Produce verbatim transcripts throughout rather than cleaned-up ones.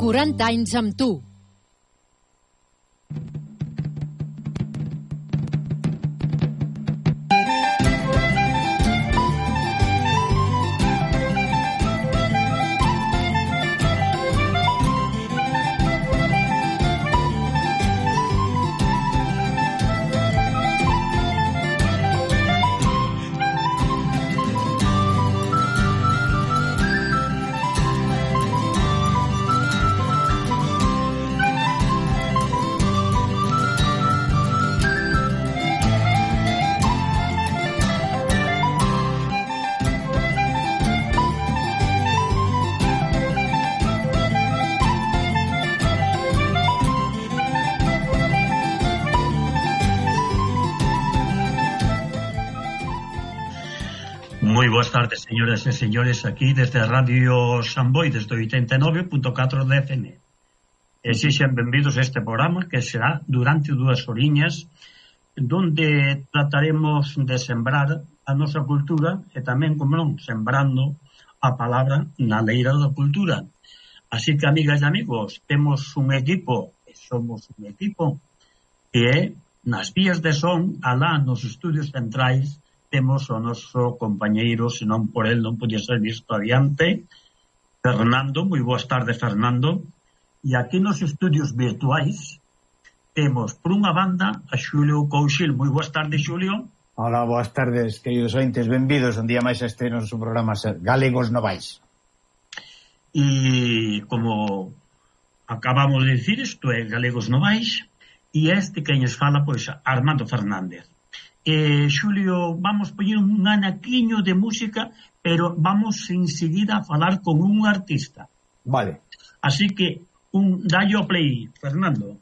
quaranta anys amb tu. Moi boas tardes, señoras e señores, aquí desde Radio Samboy, desde oitenta e nove punto catro de F M. E sexan benvidos a este programa que será durante dúas horiñas, donde trataremos de sembrar a nosa cultura e tamén, como non, sembrando a palabra na leira da cultura. Así que, amigas e amigos, temos un equipo, e somos un equipo, que é nas vías de son, alá nos estudios centrais, temos o noso compañeiro, senón por el non podía ser visto adiante, Fernando. Moi boas tardes, Fernando. E aquí nos estudios virtuais temos, por unha banda, a Xulio Couchil. Moi boas tardes, Xulio. Hola, boas tardes, queridos ointes, benvidos un día máis a este noso programa Galegos Novais. E como acabamos de dicir, isto é Galegos Novais, e este que nos fala, pois, Armando Fernández. Eh, Xulio, vamos poñer un anaquiño de música, pero vamos enseguida a falar con un artista. Vale. Así que, un dallo play, Fernando.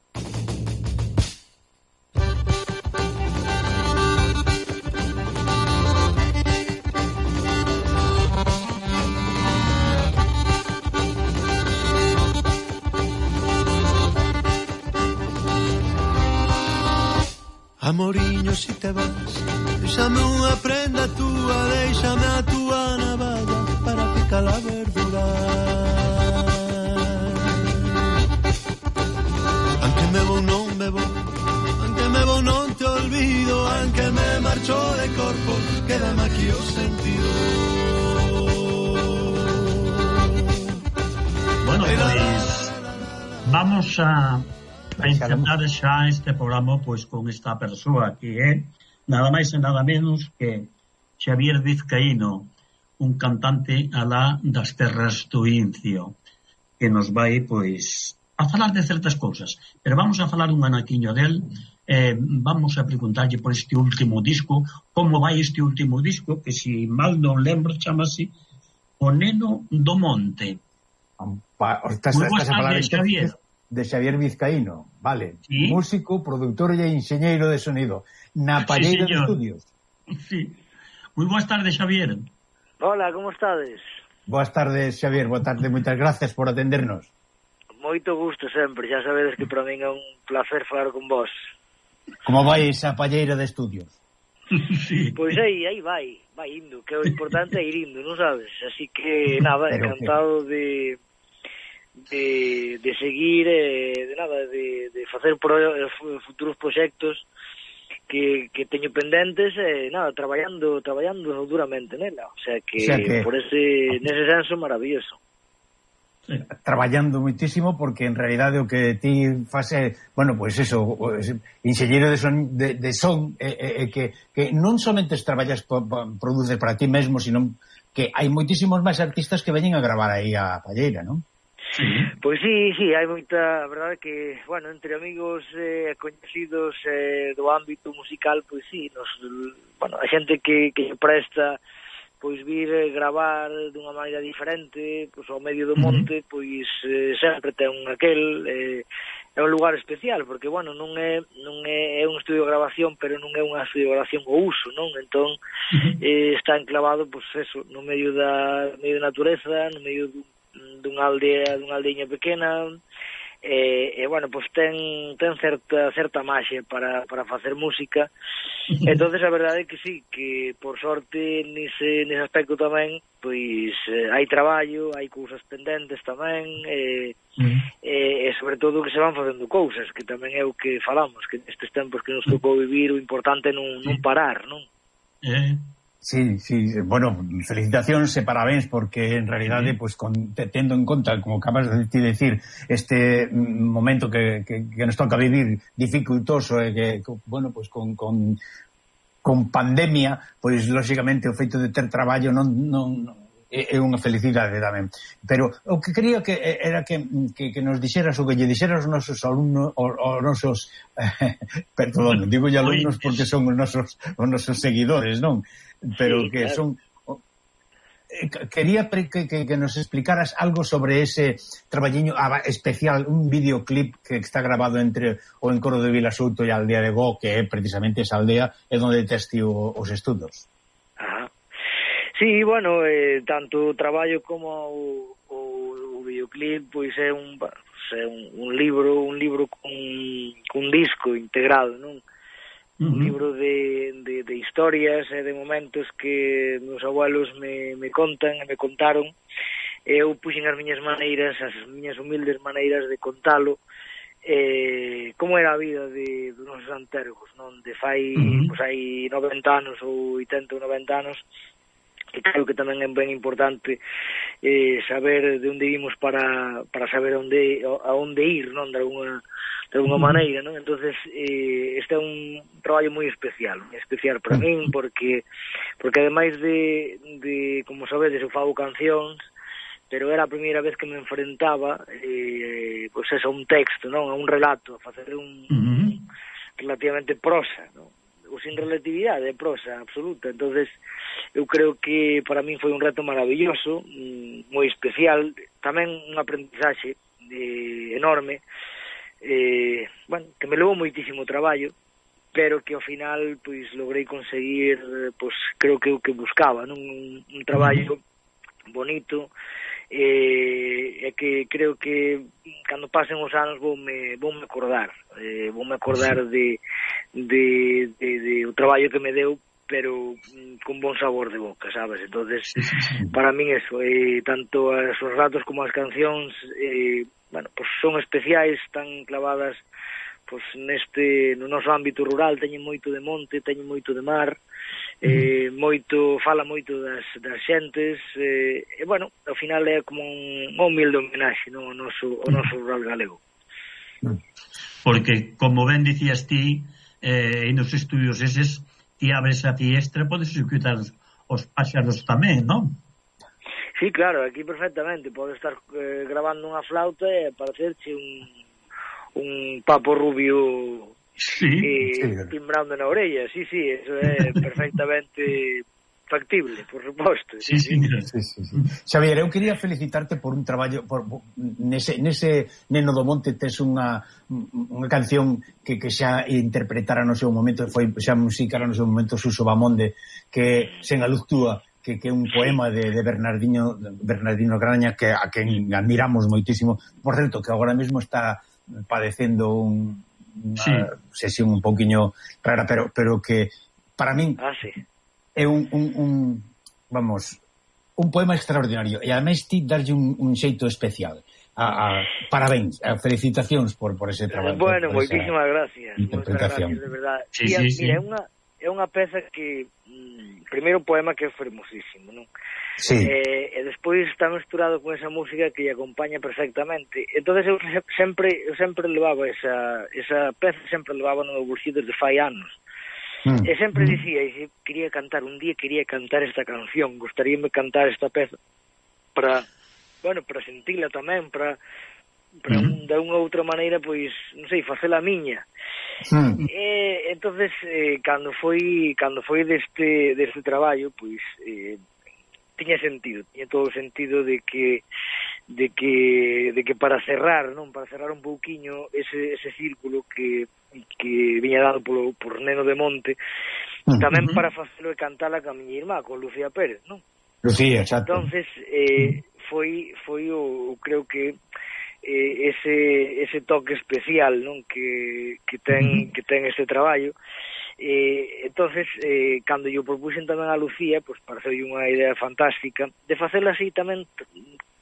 Amoriño, si te vas, déxame unha prenda túa, déxame a túa navalla para picar a verdura. Anque me vou, non me vou, anque me vou, non te olvido, anque me marcho de corpo, quédame aquí o sentido. Bueno, pois vamos a a intentar xa este programa pois con esta persoa que é nada máis e nada menos que Xavier Vizcaíno, un cantante alá das terras do Incio, que nos vai pois a falar de certas cousas, pero vamos a falar un anaquiño del. Eh, vamos a preguntarlle por este último disco, como vai este último disco, que si mal non lembro chamase O Neno do Monte. Pa, estás, estás a falar de Xavier de Xavier Vizcaíno, vale, ¿sí? Músico, productor e enxeñeiro de sonido na Palleira sí, de Estudios. Sí. Moi boas tardes, Xavier. Hola, como estades? Boas tardes, Xavier, boa tarde, moitas gracias por atendernos. Moito gusto sempre, xa sabedes que para min é un placer falar con vos. Como vai esa Palleira de Estudios? Sí. Pois aí, aí vai, vai indo, que o importante é ir indo, non sabes? Así que, nada, pero encantado que... de... De, de seguir eh, de nada, de, de facer pro, futuros proxectos que, que teño pendentes e eh, nada, traballando traballando duramente nela, o sea que, o sea que... por ese nese senso maravilloso. Sí. Traballando moitísimo porque en realidade o que ti fase, bueno, pois pues eso, enxeñeiro de son, de, de son eh, eh, que, que non somente traballas po, po, produces para ti mesmo, sino que hai moitísimos máis artistas que veñen a gravar aí a Palleira, non? Sí. Pois sí, sí, hai moita, a verdade que, bueno, entre amigos eh, coñecidos eh, do ámbito musical, pois sí, nos, bueno, a xente que, que presta pois vir eh, gravar dunha maneira diferente, pois ao medio do monte, pois eh, sempre ten aquel, eh, é un lugar especial, porque, bueno, non é non é, é un estudio de grabación, pero non é unha estudio de grabación ao uso, non? Entón, eh, está enclavado, pois eso, no medio da, medio da natureza, no medio dun dunha aldea, dunha aldeiña pequena, e, e bueno, pois ten ten certa certa maxia para, para facer música. Entonces a verdade é que sí, que por sorte nese, nese aspecto tamén pois eh, hai traballo, hai cousas pendentes tamén, e, uh-huh. e, e sobre todo que se van facendo cousas, que tamén é o que falamos, que nestes tempos que nos tocou vivir o importante é non, non parar, non? Eh Sí, sí, bueno, felicitacións e parabéns, porque en realidade, sí. pues, con, tendo en conta, como acabas de decir, este momento que, que, que nos toca vivir dificultoso, e que, bueno, pues con, con, con pandemia, pois, pues, lógicamente, o feito de ter traballo non, non é unha felicidade tamén. Pero o que quería que era que, que, que nos dixeras o que lle dixeras aos nosos alumnos, os nosos, eh, perdón, digo lle alumnos porque son os nosos, os nosos seguidores, non? Pero sí, que claro. Son... Quería que, que, que nos explicaras algo sobre ese traballiño especial, un videoclip que está grabado entre o Encoro de Vilasouto e a aldea de Gó, que é precisamente esa aldea é onde testi os estudos. Ajá. Sí, bueno, eh, tanto o traballo como o, o, o videoclip, pois é un, é un, un libro, un libro con, con disco integrado, non? Uh-huh. Un libro de, de, de historias e de momentos que meus abuelos me, me contan e me contaron. Eu puxen as miñas maneiras, as miñas humildes maneiras de contalo, eh, como era a vida de, dos nosos antergos, non? De fai, uh-huh. pois hai noventa anos ou oitenta ou noventa anos, que creo que tamén é ben importante eh, saber de onde vimos para, para saber onde, a onde ir, non? De alguna, de alguna uh-huh. maneira, non? Entonces eh, este é un traballo moi especial, moi especial para uh-huh. min, porque porque ademais de, de como sabedes, eu fago cancións, pero era a primeira vez que me enfrentaba eh, pois eso, a un texto, non? A un relato, a facer un, uh-huh. relativamente prosa, non? Ou sin relatividade, é prosa absoluta. Entonces eu creo que para min foi un reto maravilloso, moi especial, tamén un aprendizaxe eh, enorme, eh, bueno, que me levou moitísimo traballo, pero que ao final pois logrei conseguir, pois creo que o que buscaba, non? Un, un traballo bonito, e eh, que creo que cando pasen os anos voume, voume acordar eh, voume acordar de, de, de, de o traballo que me deu, pero mm, con bon sabor de boca, sabes? Entonces para min eso, eh, tanto os ratos como as cancións eh, bueno, pues son especiais, están clavadas pues neste, no noso ámbito rural, teñen moito de monte, teñen moito de mar, eh, moito, fala moito das, das xentes, eh, e bueno, ao final é como un, un humilde homenaxe, no, ao noso, ao noso rural galego. Porque, como ben dicías ti, eh, nos estudios eses, ti abres a fiestra, podes escutar os páxaros tamén, non? Sí, claro, aquí perfectamente, podes estar eh, grabando unha flauta e parecerche un un papo rubio sí, eh, sí. timbrando na orella, sí, sí, eso é perfectamente factible, por suposto. Sí, sí, sí, sí, sí. Xavier, eu quería felicitarte por un traballo por, por, nese, nese Neno do Monte tes unha, unha canción que, que xa interpretara no seu momento, foi xa musicara no seu momento Suso Bamonde, que sen a luz túa, que, que é un poema de, de Bernardino Bernardino Graña, que a quen admiramos moitísimo, por certo, que agora mesmo está padecendo un, unha sí. sesión un pouquiño rara, pero pero que para min ah, sí. é un, un, un vamos, un poema extraordinario, e ademais ti darlle un, un xeito especial. A, a, parabéns, a felicitacións por, por ese traballo. Bueno, moitísimas gracias. Interpretación. Gracias, de verdade. Sí, sí, sí. Mira, é unha é unha peza que mm, primeiro un poema que é fermosísimo, non? Sí. Eh, e despois está mesturado con esa música que lle acompaña perfectamente. Entonces eu sempre eu sempre levaba esa esa peza, sempre levaba no meu bolsillo desde fai anos. Mm. E sempre dicía, e quería cantar, un día quería cantar esta canción, gustaríame cantar esta peza para, bueno, para sentila tamén, para para mm. de unha outra maneira, pois, non sei, facela miña. Mm. E entonces eh, cando foi cando foi deste deste traballo, pois eh, tiña sentido, tiña todo o sentido de que de que de que para cerrar, non, para cerrar un pouquiño ese ese círculo que que viña dado polo por Neno de Monte, uh-huh. tamén para facelo e cantala ca miña irmá, con Lucía Pérez, non? Lucía, exacto. Entonces, eh, foi foi o creo que eh, ese ese toque especial, non, que que ten que ten este traballo. Eh, entonces, eh, cando yo propuxen tamén a Lucía, pois pues, pareceu unha idea fantástica de facela así tamén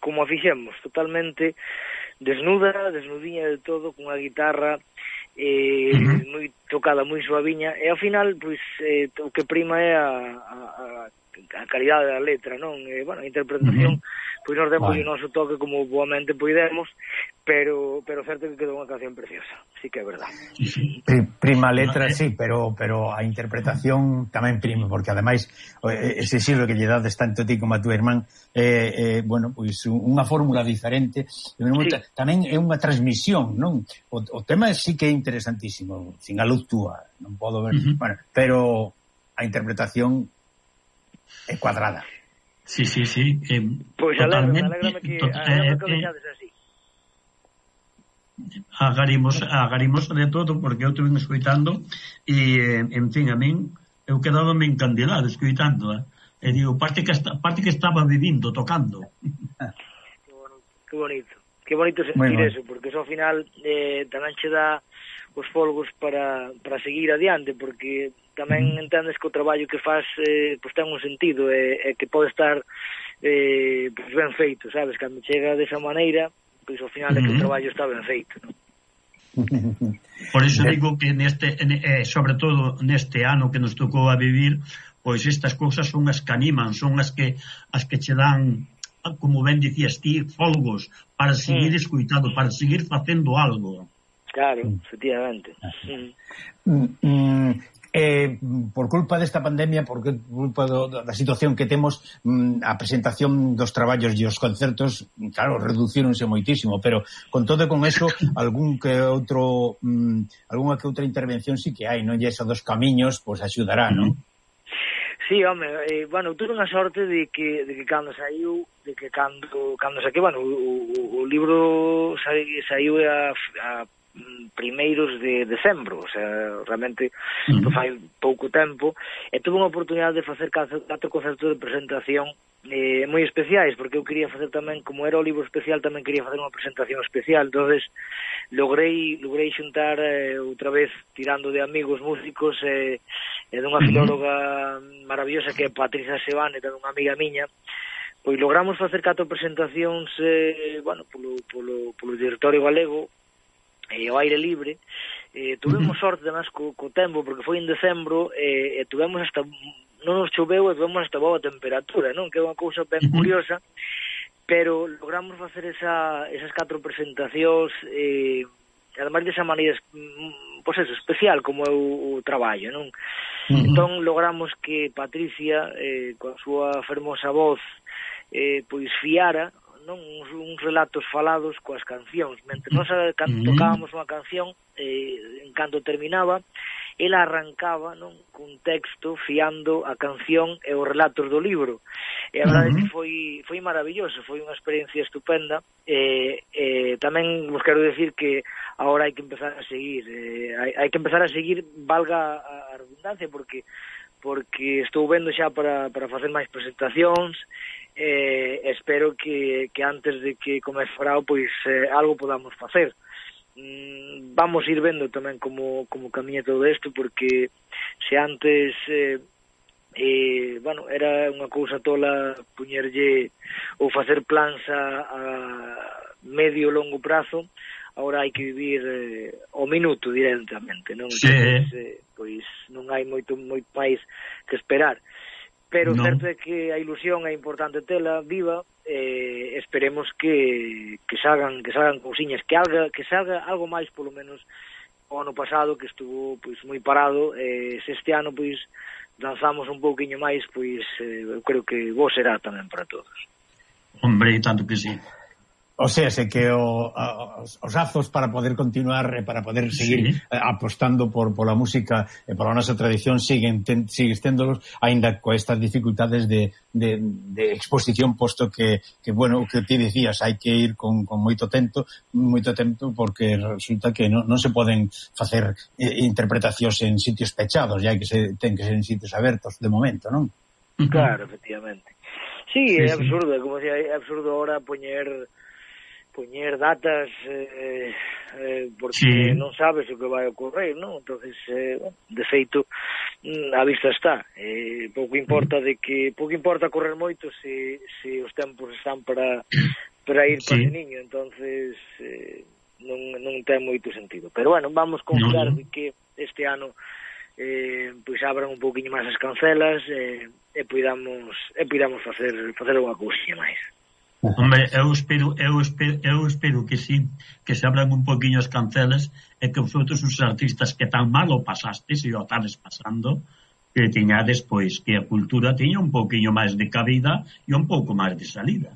como a fixemos, totalmente desnuda, desnudiña de todo, cunha guitarra eh, uh-huh. moi tocada, moi suaviña, e ao final, pois, eh, o que prima é a, a, a calidade da letra, non? Eh, bueno, a interpretación, uh-huh. pois nos demos o noso toque como boamente poidemos, pero pero certo que quedou unha canción preciosa, sí que é verdade. Prima letra, sí, pero pero a interpretación tamén prima, porque ademais ese xiro que lle dades tanto a ti como a tu irmán, eh, eh, bueno, pois unha fórmula diferente, sí. Tamén é unha transmisión, non? O, o tema sí que é interesantísimo, sin a luz túa, non podo ver, uh-huh. bueno, pero a interpretación é cuadrada. Sí, sí, sí. Eh, pois pues alégrame, alégrame que, tot, eh, que eh, así. Agarimos, agarimos de todo, porque eu estuve escoitando e, en fin, a min eu quedaba me encandilado escoitando, eh? E digo, parte que, esta, parte que estaba vivindo, tocando. Que bonito, que bonito, que bonito sentir eso, porque eso ao final eh, tamén che dá os folgos para, para seguir adiante, porque tamén entendes que o traballo que faz eh, pues ten un sentido, e eh, eh, que pode estar eh, pues ben feito, sabes, cando chega desa maneira, pois ao final é que o traballo está ben feito, non? Por iso digo que neste, eh, sobre todo neste ano que nos tocou a vivir, pois estas cousas son as que animan, son as que as que che dan, como ben dicías ti, folgos para seguir mm. escuitando, para seguir facendo algo. Claro, efectivamente. Mm. Mm. Eh, por culpa desta pandemia, por culpa do, da situación que temos, a presentación dos traballos e os concertos, claro, reducíronse moitísimo, pero con todo con eso, algún que outro um, algunha que outra intervención sí que hai, non? E eso dos camiños, pois pues, axudará, non? Sí, home, eh, bueno, tuve unha sorte de que, de que cando saiu, de que cando, cando saquei, bueno, o, o, o libro saiu a, a primeiros de decembro, o sea, realmente uh-huh. pues, fai pouco tempo, e tuve unha oportunidade de facer catro, catro concertos de presentación eh, moi especiais, porque eu quería facer tamén, como era o libro especial, tamén quería facer unha presentación especial, entonces logrei logrei xuntar eh, outra vez, tirando de amigos músicos e eh, dunha filóloga maravillosa que é Patricia Sebane, tamén unha amiga miña, pois logramos facer catro presentacións eh, bueno, polo, polo, polo territorio galego e ao aire libre. Eh, tuvemos sorte además co, co tempo, porque foi en decembro e, e tuvemos hasta, non nos choveu e tuvemos hasta boa temperatura, non? Que é unha cousa ben curiosa, pero logramos facer esa, esas catro presentacións e además desa maneira pois eso, especial como é o, o traballo, non? Uh-huh. Entón logramos que Patricia eh, coa súa fermosa voz eh, pois fiara, non, uns, uns relatos falados coas cancións. Mentre nós cando tocábamos unha canción, eh, en canto terminaba, ela arrancaba, non, cun texto fiando a canción e os relatos do libro. E a verdade é que foi foi maravilloso, foi unha experiencia estupenda. E eh, eh, tamén vos quero decir que agora hai que empezar a seguir, eh, hai, hai que empezar a seguir, valga a, a redundancia, porque porque estou vendo xa para, para facer máis presentacións. Eh, espero que, que antes de que comece o verao pois eh, algo podamos facer. Mm, vamos ir vendo tamén como, como camiña todo isto, porque se antes eh, eh, bueno, era unha cousa tola puñerlle ou facer plans a, a medio longo prazo, agora hai que vivir eh, o minuto directamente, non? Sí. Entonces, eh, pois non hai moito moito máis que esperar. Pero no. Certo é que a ilusión é importante tela viva, eh, esperemos que, que salgan que salgan cousiñas, que salga, que salga algo máis polo menos o ano pasado, que estuvo pois moi parado, eh, se este ano pois lanzamos un pouquiño máis, pois eh, eu creo que vos será tamén para todos. Hombre, tanto que sí. O sea, sé que o, os, os azos para poder continuar e para poder seguir sí. apostando por pola música e pola nosa tradición siguen ten, sigues téndolos, aínda co estas dificultades de, de, de exposición, posto que, que bueno, que ti dicías, hai que ir con, con moito tempo, moito tempo, porque resulta que non, non se poden facer eh, interpretacións en sitios pechados, ya que se ten que ser en sitios abertos de momento, non? Claro, efectivamente. Sí, sí é absurdo, sí. Como decía, é absurdo ahora poñer poñer datas eh, eh, porque sí. non sabes o que vai ocorrer, non? Entonces, eh, bueno, de feito, a vista está. Eh, pouco importa de que pouco importa correr moito se, se os tempos están para para ir para sí. ese niño, entonces eh, non, non ten moito sentido. Pero bueno, vamos confiar no. de que este ano eh, pois abran un pouquiño máis as cancelas eh, e podamos e podamos facer facer unha cousiña máis. Hombre, eu espero, eu espero, eu espero que sí, que se abran un poquinho as cancelas e que vosotros os artistas que tan mal o pasastes e o estades pasando, que teñades, pois, que a cultura teña un poquinho máis de cabida e un pouco máis de salida.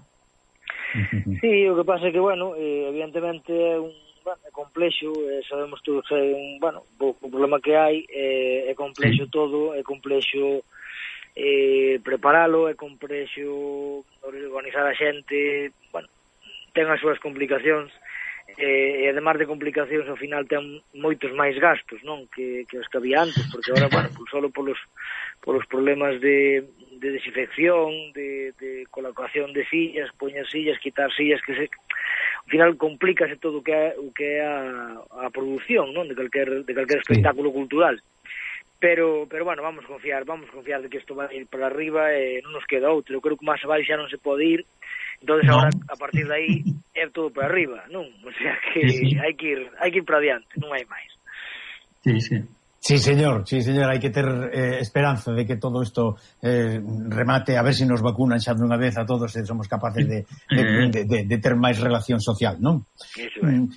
Sí, o que pasa é que, bueno, eh, evidentemente é un bueno, é complexo, eh, sabemos todos que é un, bueno, o, o problema que hai, eh, é complexo sí. todo, é complexo eh, preparalo, é complexo organizar a xente, bueno, ten as súas complicacións, eh, e además de complicacións ao final ten moitos máis gastos, non, que, que os que había antes, porque agora, bueno, pues solo polos, polos problemas de, de desinfección, de, de colocación de sillas, poñer sillas, quitar sillas, que se, ao final complícase todo o que é, o que é a, a produción, non, de calquer, de calquer espectáculo sí. cultural. Pero, pero bueno, vamos confiar, vamos confiar de que isto vai ir para arriba e non nos queda outro. Eu creo que máis abaixo xa non se pode ir, entonces no. Agora, a partir de aí, é todo para arriba, non? O sea que sí, sí. hai que ir, hai que ir para adiante, non hai máis. Sí, sí. Sí, señor, sí, señor, hai que ter eh, esperanza de que todo isto eh, remate, a ver se si nos vacunan xa dunha vez a todos e somos capaces de, de, de, de, de ter máis relación social, non? Eso é. Mm,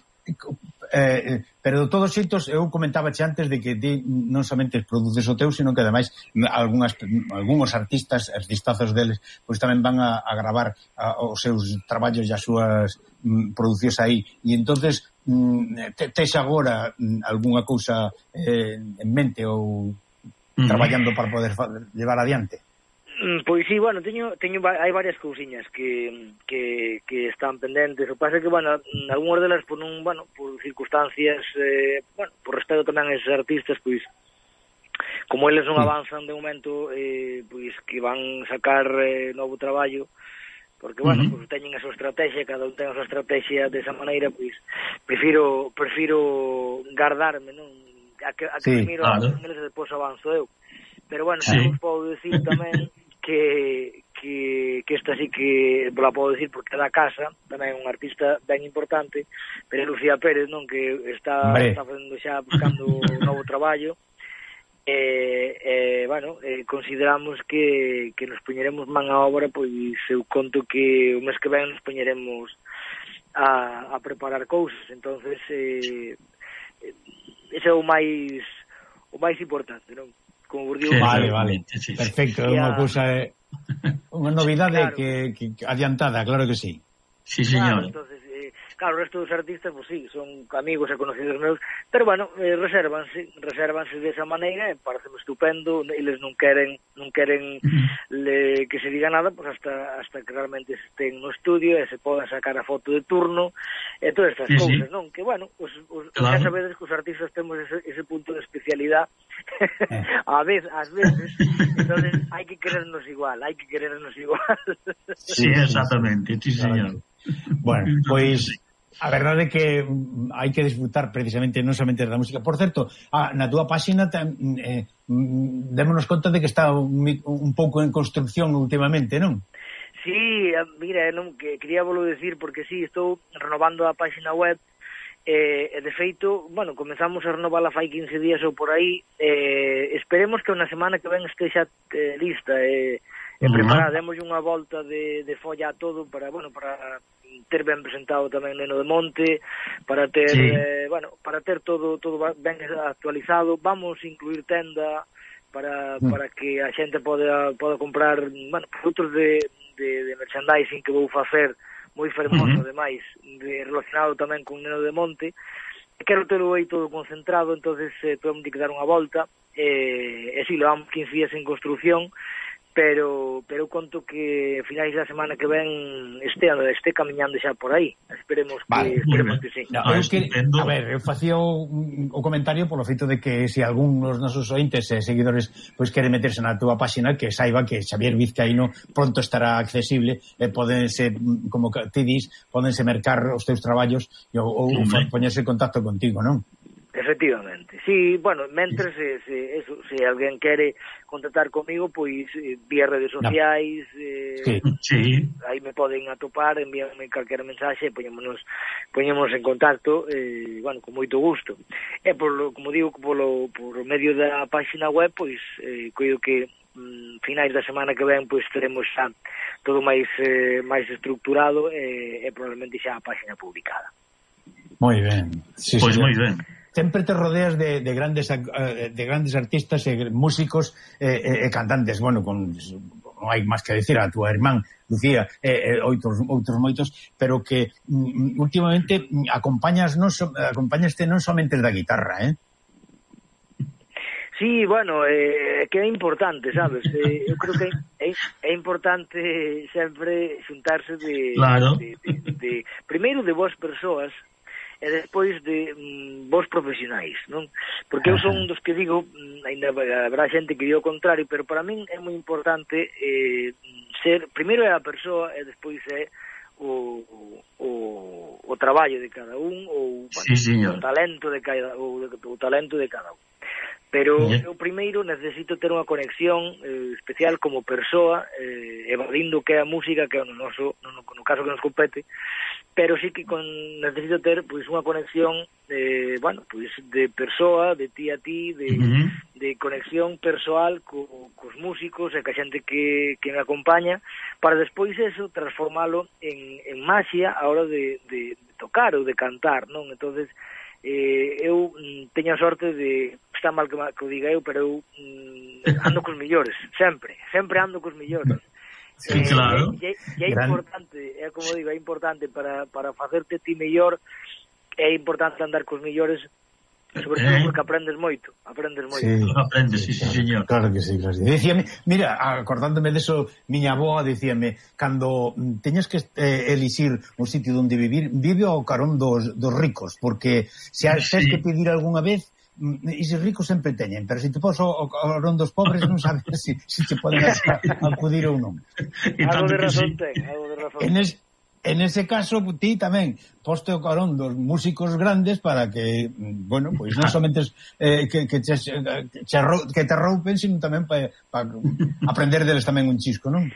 Eh, pero de todos xeitos eu comentaba xe antes de que ti non somente produces o teu, sino que ademais algunhas, algúns artistas, os distazos deles, pois tamén van a, a gravar a, os seus traballos e as súas mm, producións aí, e entonces mm, te, tes agora mm, algunha cousa eh, en mente ou mm. traballando para poder llevar adiante? Pois sí, bueno, teño, teño hai varias cousiñas que, que, que están pendentes. O que pasa é que, bueno, algunhas delas por un, bueno, por circunstancias, eh, bueno, por respeto tamén a esos artistas, pois, como eles non avanzan de momento, eh, pois que van sacar eh, novo traballo, porque, bueno, uh-huh. pois teñen a súa estrategia, cada un ten a súa estrategia desa maneira, pois, prefiro, prefiro guardarme, non? A que, a que sí, primero claro. Eles depois avanzo eu. Pero, bueno, sí. Vos podo decir tamén que, que, que esta sí que la podo decir porque é da casa, tamén é un artista ben importante, pero é Lucía Pérez, non, que está, está facendo xa buscando un novo traballo, e, eh, bueno, eh, consideramos que, que nos poñeremos man a obra, pois eu conto que o mes que ven nos poñeremos a, a preparar cousas, entonces eh, ese é o máis o máis importante, non? Como vos digo, vale, vale, perfecto, é unha cousa, unha novidade claro. que, que adiantada, claro que sí. Sí, señor. Claro, entonces, eh, claro, o resto dos artistas, pues sí, son amigos e conocidos meus, pero bueno, eh, resérvanse, resérvanse desa maneira, e parece estupendo, eles non queren, non queren le, que se diga nada, pues hasta hasta que realmente estén no estudio e se podan sacar a foto de turno e todas estas sí, cousas, sí. non? Que bueno, os, os, claro. xa sabedes que os artistas temos ese, ese punto de especialidad a veces, ás veces, entonces hai que querernos igual, hai que querernos igual. Sí, exactamente, sí, señor. Bueno, pois a verdade é que hai que disfrutar precisamente non somente da música. Por certo, ah, na túa páxina eh, démonos conta de que está un, un pouco en construcción últimamente, non? Sí, mira, non, que quería volo decir porque sí, estou renovando a páxina web e, eh, de feito, bueno, comezamos a renovala fai quince días ou por aí, eh, esperemos que unha semana que ven estexa eh, lista e eh, e preparar, demos unha volta de, de folla a todo para, bueno, para ter ben presentado tamén Neno de Monte, para ter, sí. eh, bueno, para ter todo todo ben actualizado. Vamos incluir tenda para, mm. para que a xente poda, poda comprar, bueno, produtos de, de, de merchandising que vou facer moi fermoso, uh-huh. ademais, de, relacionado tamén con Neno de Monte. Quero telo aí todo concentrado, entonces eh, temos que dar unha volta, e, e si, levamos quince días en construcción, pero pero conto que a finais da semana que ven este este camiñando xa por aí. Esperemos que vale, esperemos que sí. No, eu que, a ver, eu facía o, o comentario polo feito de que se algún dos nosos ointes e seguidores pois quere meterse na túa páxina, que saiba que Xavier Vizcaíno pronto estará accesible e podense, como ti dis, podense mercar os teus traballos ou, ou sí, poñerse en contacto contigo, non? Efectivamente, sí, bueno, mentre se, se, eso, se alguén quere contactar comigo, pois vía redes sociais, no. eh, sí. sí. aí me poden atopar, envíanme calquera mensaxe, poñémonos, poñémonos en contacto, eh, bueno, con moito gusto. E por lo, como digo, polo, por medio da página web, pois, eh, coido que mm, finais da semana que ven, pois teremos xa todo máis eh, máis estructurado e, e probablemente xa a página publicada. Moi ben. Sí, pois sí, moi ben. Sempre te rodeas de, de grandes de grandes artistas e músicos e, e cantantes, bueno, con non hai máis que decir a túa irmán Lucía e, e outros, outros moitos, pero que mm, últimamente acompañas non so, acompañaste non somente da guitarra, eh? Sí, bueno, eh, que é importante, sabes? Eh, eu creo que é, é importante sempre xuntarse de, claro. de, de, de primeiro de vos persoas e despois de mm, vos profesionais, non? Porque eu son dos que digo, ainda habrá xente que digo o contrario, pero para min é moi importante eh, ser, primeiro é a persoa e despois é o, o, o traballo de cada un ou bueno, sí, o talento de cada o, o talento de cada un. Pero eu primeiro necesito ter unha conexión eh, especial como persoa, eh, evadindo que é a música, que é no, noso, no, no caso que nos compete, pero sí que con, necesito ter pois unha conexión eh, bueno, pois de persoa, de ti a ti, de, uh-huh. de conexión persoal co, cos músicos e ca xente que, que me acompaña, para despois eso transformalo en, en maxia a hora de, de, de tocar ou de cantar, non? Entonces eh, eu mm, teño a sorte de, está mal que, que o diga eu, pero eu mm, ando cos millores, sempre, sempre ando cos millores. Sí, eh, claro. E, e, e é importante, é como digo, é importante para, para facerte ti mellor, é importante andar cos millores, sobre todo eh. porque aprendes moito, aprendes moito. Sí, aprendes, sí, sí, claro, señor. Claro que sí, claro que sí. Dicíame, mira, acordándome de eso, miña avoa dicíame, cando teñas que eh, elixir un sitio onde vivir, vive ao carón dos, dos ricos, porque se has sí. que pedir algunha vez, e se ricos sempre teñen, pero se te pos ao carón dos pobres non sabes se si, si te poden acudir ou non. Algo de razón ten, algo de razón ten. En ese caso, ti tamén poste o carón dos músicos grandes para que, bueno, pois non somente eh, que, que, che, que, que te roupen, sino tamén para pa aprender deles tamén un chisco, non?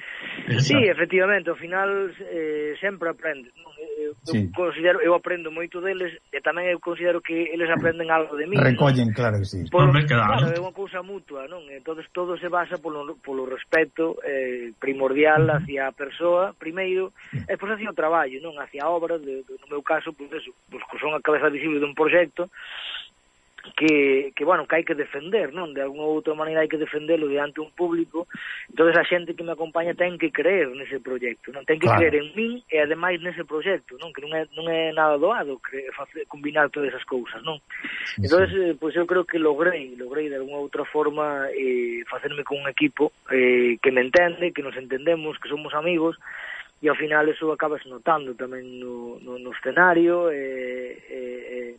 Sí, efectivamente, ao final eh, sempre aprendes, non? Eu, sí. eu considero, eu aprendo moito deles e tamén eu considero que eles aprenden algo de mí. Recollen, non? Claro que sí. Por, claro, é unha cousa mutua, non? Entonces todo se basa polo, polo respeto eh, primordial hacia a persoa, primeiro, e pois hacia o traballo, non? Hacia a obra, de, de, no meu caso, pois eso, pois que son a cabeza visible dun proxecto que, que, bueno, que hai que defender, non? De alguna outra maneira hai que defenderlo diante un público. Entonces a xente que me acompaña ten que creer nese proxecto, non? Ten que claro. creer en min e ademais nese proxecto, non? Que non é, non é nada doado cre, facer, combinar todas esas cousas, non? Sí, entonces, sí. Eh, pois eu creo que logrei, logrei de alguna outra forma eh, facerme con un equipo eh, que me entende, que nos entendemos, que somos amigos, e ao final eso acabas notando tamén no, no, no escenario e, e,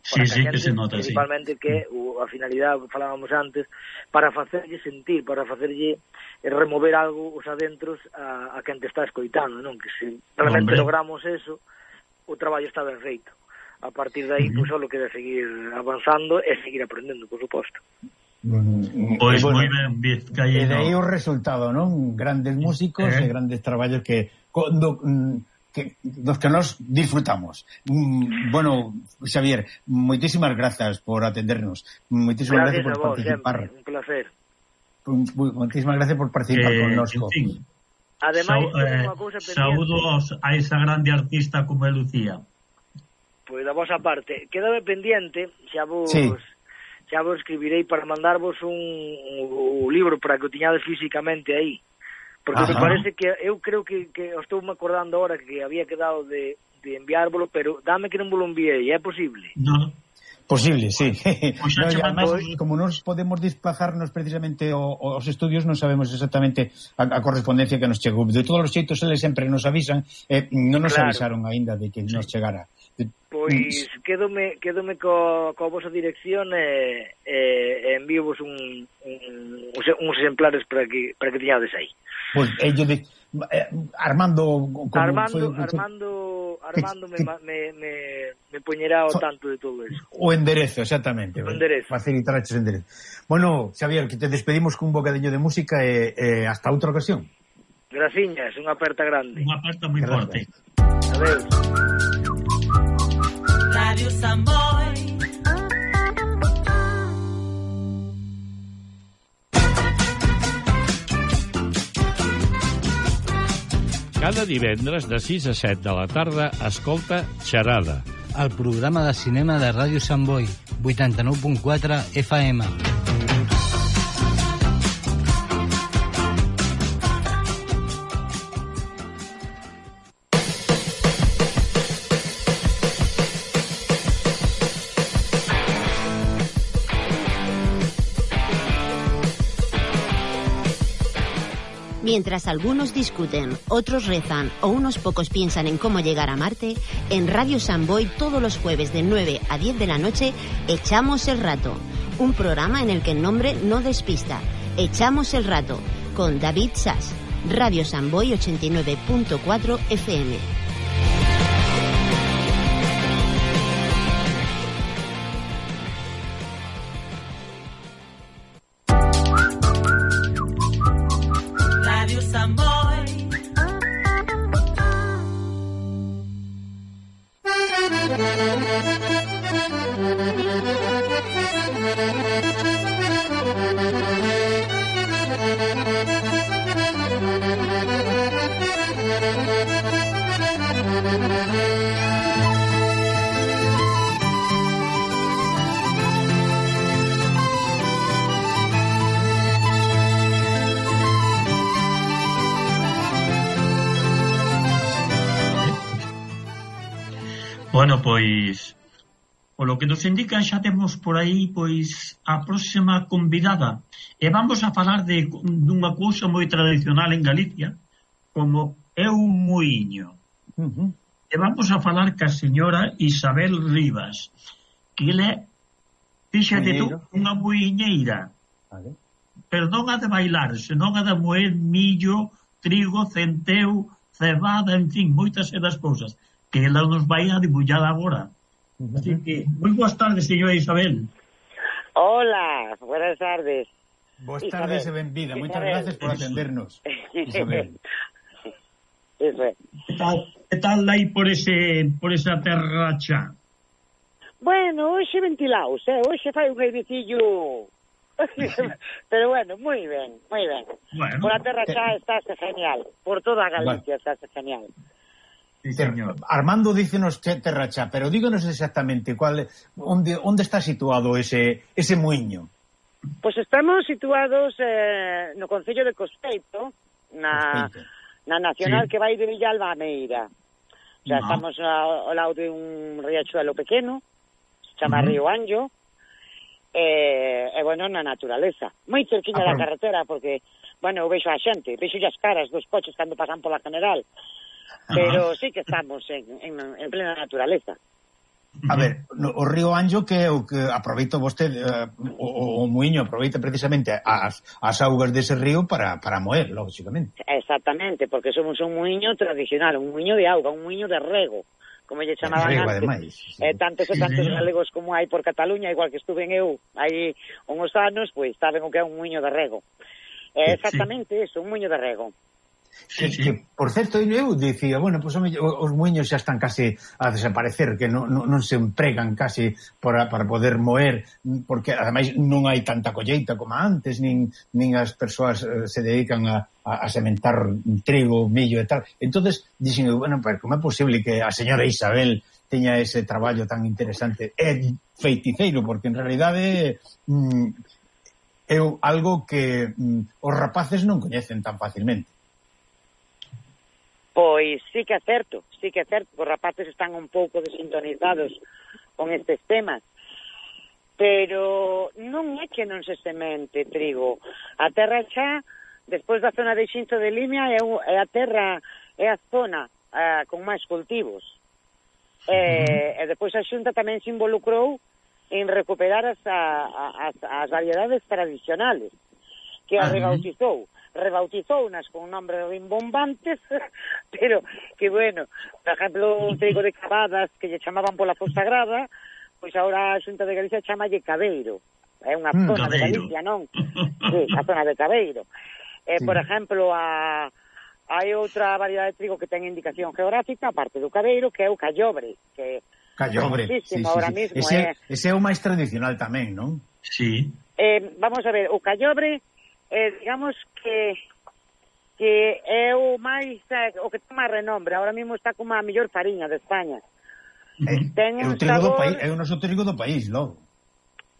e sí, sí, que se nota, principalmente sí. que o, a finalidade, falábamos antes, para facerlle sentir, para facerlle remover algo os adentros a, a quen te está escoitando, non? Que se realmente Hombre. logramos eso, o traballo está ben feito. A partir de aí, uh-huh. pois só lo queda seguir avanzando e seguir aprendendo, por suposto. Pois pues bueno, moi ben, Vizcaíno. E de aí o resultado, non? Grandes músicos eh. e grandes traballos que, do, que dos que nos disfrutamos. Bueno, Xavier, moitísimas grazas por atendernos. Moitísimas gracias, gracias por vos, participar. Sempre, un placer. Moitísimas gracias por participar eh, connosco. En fin. Ademais, Sa eh, cousa saúdos a esa grande artista como é Lucía. Pois da vosa parte, quédame pendiente, xa vos sí. xa vos escribirei para mandarvos un, un, un libro para que o tiñades físicamente aí. Porque Ajá. me parece que eu creo que, que estou me acordando ahora que había quedado de, de enviárvolo, pero dame que non vos lo enviei, é posible? No. Posible, sí. Pois No, xa e además, chamamos- como nos podemos desplazarnos precisamente ao- aos estudios, non sabemos exactamente a, a correspondencia que nos chegou. De todos os xeitos, eles sempre nos avisan, eh, non nos Claro. avisaron aínda de que nos chegara. De- Pois quedome, quedome co, co vosa dirección e, e, e envíovos un, un, uns exemplares para que, para que tiñades aí. Pois, ello de eh, Armando como Armando, foi, Armando, Armando me, que- me, me, me poñerá ao tanto de todo eso. o enderezo, exactamente. O enderezo. Facilitar o enderezo. Bueno, Xavier, que te despedimos cun bocadillo de música e, e hasta outra ocasión. Graciñas, unha aperta grande. Unha aperta moi Gracias. forte. Adeus. Radio Samboy. Cada divendres de sis a set de la tarda escolta Xerada. El programa de cinema de Ràdio Sant Boi, vuitanta-nou punt quatre F M. Mientras algunos discuten, otros rezan o unos pocos piensan en cómo llegar a Marte, en Radio Samboy todos los jueves de nueve a diez de la noche, Echamos el Rato, un programa en el que el nombre no despista. Echamos el Rato, con David Sass, Radio Samboy ochenta y nueve punto cuatro F M. Radio Samboy. Bueno, pois polo que nos indican xa temos por aí pois a próxima convidada e vamos a falar de dunha cousa moi tradicional en Galicia como é un muiño. Uh-huh. E vamos a falar ca señora Isabel Rivas, que ele fíxate tú, Muiñeiro. unha muiñeira, Vale. pero non a de bailar, senón a de moer millo, trigo, centeo, cebada, en fin, moitas e das cousas que ela nos vai a dibullar agora. Uh-huh. Así que, moi boas tardes, señora Isabel. Hola, buenas tardes. Boas Isabel. tardes e benvida. Moitas Isabel. gracias por atendernos. Isabel. Eso é. Que tal, que tal aí por ese por esa terra xa? Bueno, hoxe ventilaos, eh? Hoxe fai un airecillo. Pero bueno, moi ben, moi ben. Bueno, Por a terra xa estáse genial. Por toda Galicia estáse genial. sí, señor. Armando dícenos che- terra xa, pero díganos exactamente cuál onde onde está situado ese ese muiño. Pois estamos situados eh, no Concello de Cospeito, na, Cospeito. na Nacional Sí. que vai de Villalba a Meira. O sea, No. estamos ao, ao lado de un riachuelo pequeno, se chama Ujú. Río Anjo, e, e bueno, na naturaleza. Moi cerquiña Ah, da pero- carretera, porque, bueno, eu vexo a xente, vexo as caras dos coches cando pasan pola general, pero sí que estamos en, en, en plena naturaleza. A ver, no, o río Anjo que é o que aproveita vostede eh, o, o muiño aproveita precisamente as, as augas dese río para, para moer, lógicamente. Exactamente, porque somos un muiño tradicional, un muiño de auga, un muiño de rego, como lle chamaban Rego, antes. ademais. Eh, tantos e Sí, tantos señor. galegos como hai por Cataluña, igual que estuve en eu hai uns anos, pois saben o que é un muiño de rego. É Sí, exactamente eso, un muiño de rego. Sí, Que, sí. que, por certo, eu dicía, bueno, pues, home, os muiños xa están case a desaparecer, que non, non, non se empregan case para, para poder moer, porque ademais non hai tanta colleita como antes, nin, nin as persoas eh, se dedican a, a, a sementar trigo, millo e tal. Entonces, dixen, bueno, pues, como é posible que a señora Isabel teña ese traballo tan interesante e feiticeiro, porque en realidade mm, é algo que mm, os rapaces non coñecen tan facilmente. Pois sí que é certo, sí que é certo, os rapaces están un pouco desintonizados con estes temas. pero non é que non se semente trigo. A terra xa, despois da zona de Xinto de Limia, é, é a terra, é a zona uh, con máis cultivos. Uh-huh. E, e despois a Xunta tamén se involucrou en recuperar as, a, as, as variedades tradicionales, que as rebautizou. Rebautizounas con nombres rimbombantes, pero que, bueno, por exemplo, un trigo de Cavadas que lle chamaban pola Fonsagrada, pois agora a Xunta de Galicia chamalle Cabeiro. É unha mm, zona Cabeiro. de Galicia, non? Sí, a zona de Cabeiro. Eh, sí. Por exemplo, a... hai outra variedade de trigo que ten indicación geográfica, aparte do Cabeiro, que é o Callobre, que Callobre, sí, sí, ahora sí. Mismo ese, é... ese é o máis tradicional tamén, non? Sí. Eh, vamos a ver, o Callobre, eh, digamos que que é o máis, eh, o que ten máis renombre, ahora mismo está como a mellor fariña de España. Eh, ten un é o trigo sabor... do país, é o noso trigo do país, logo.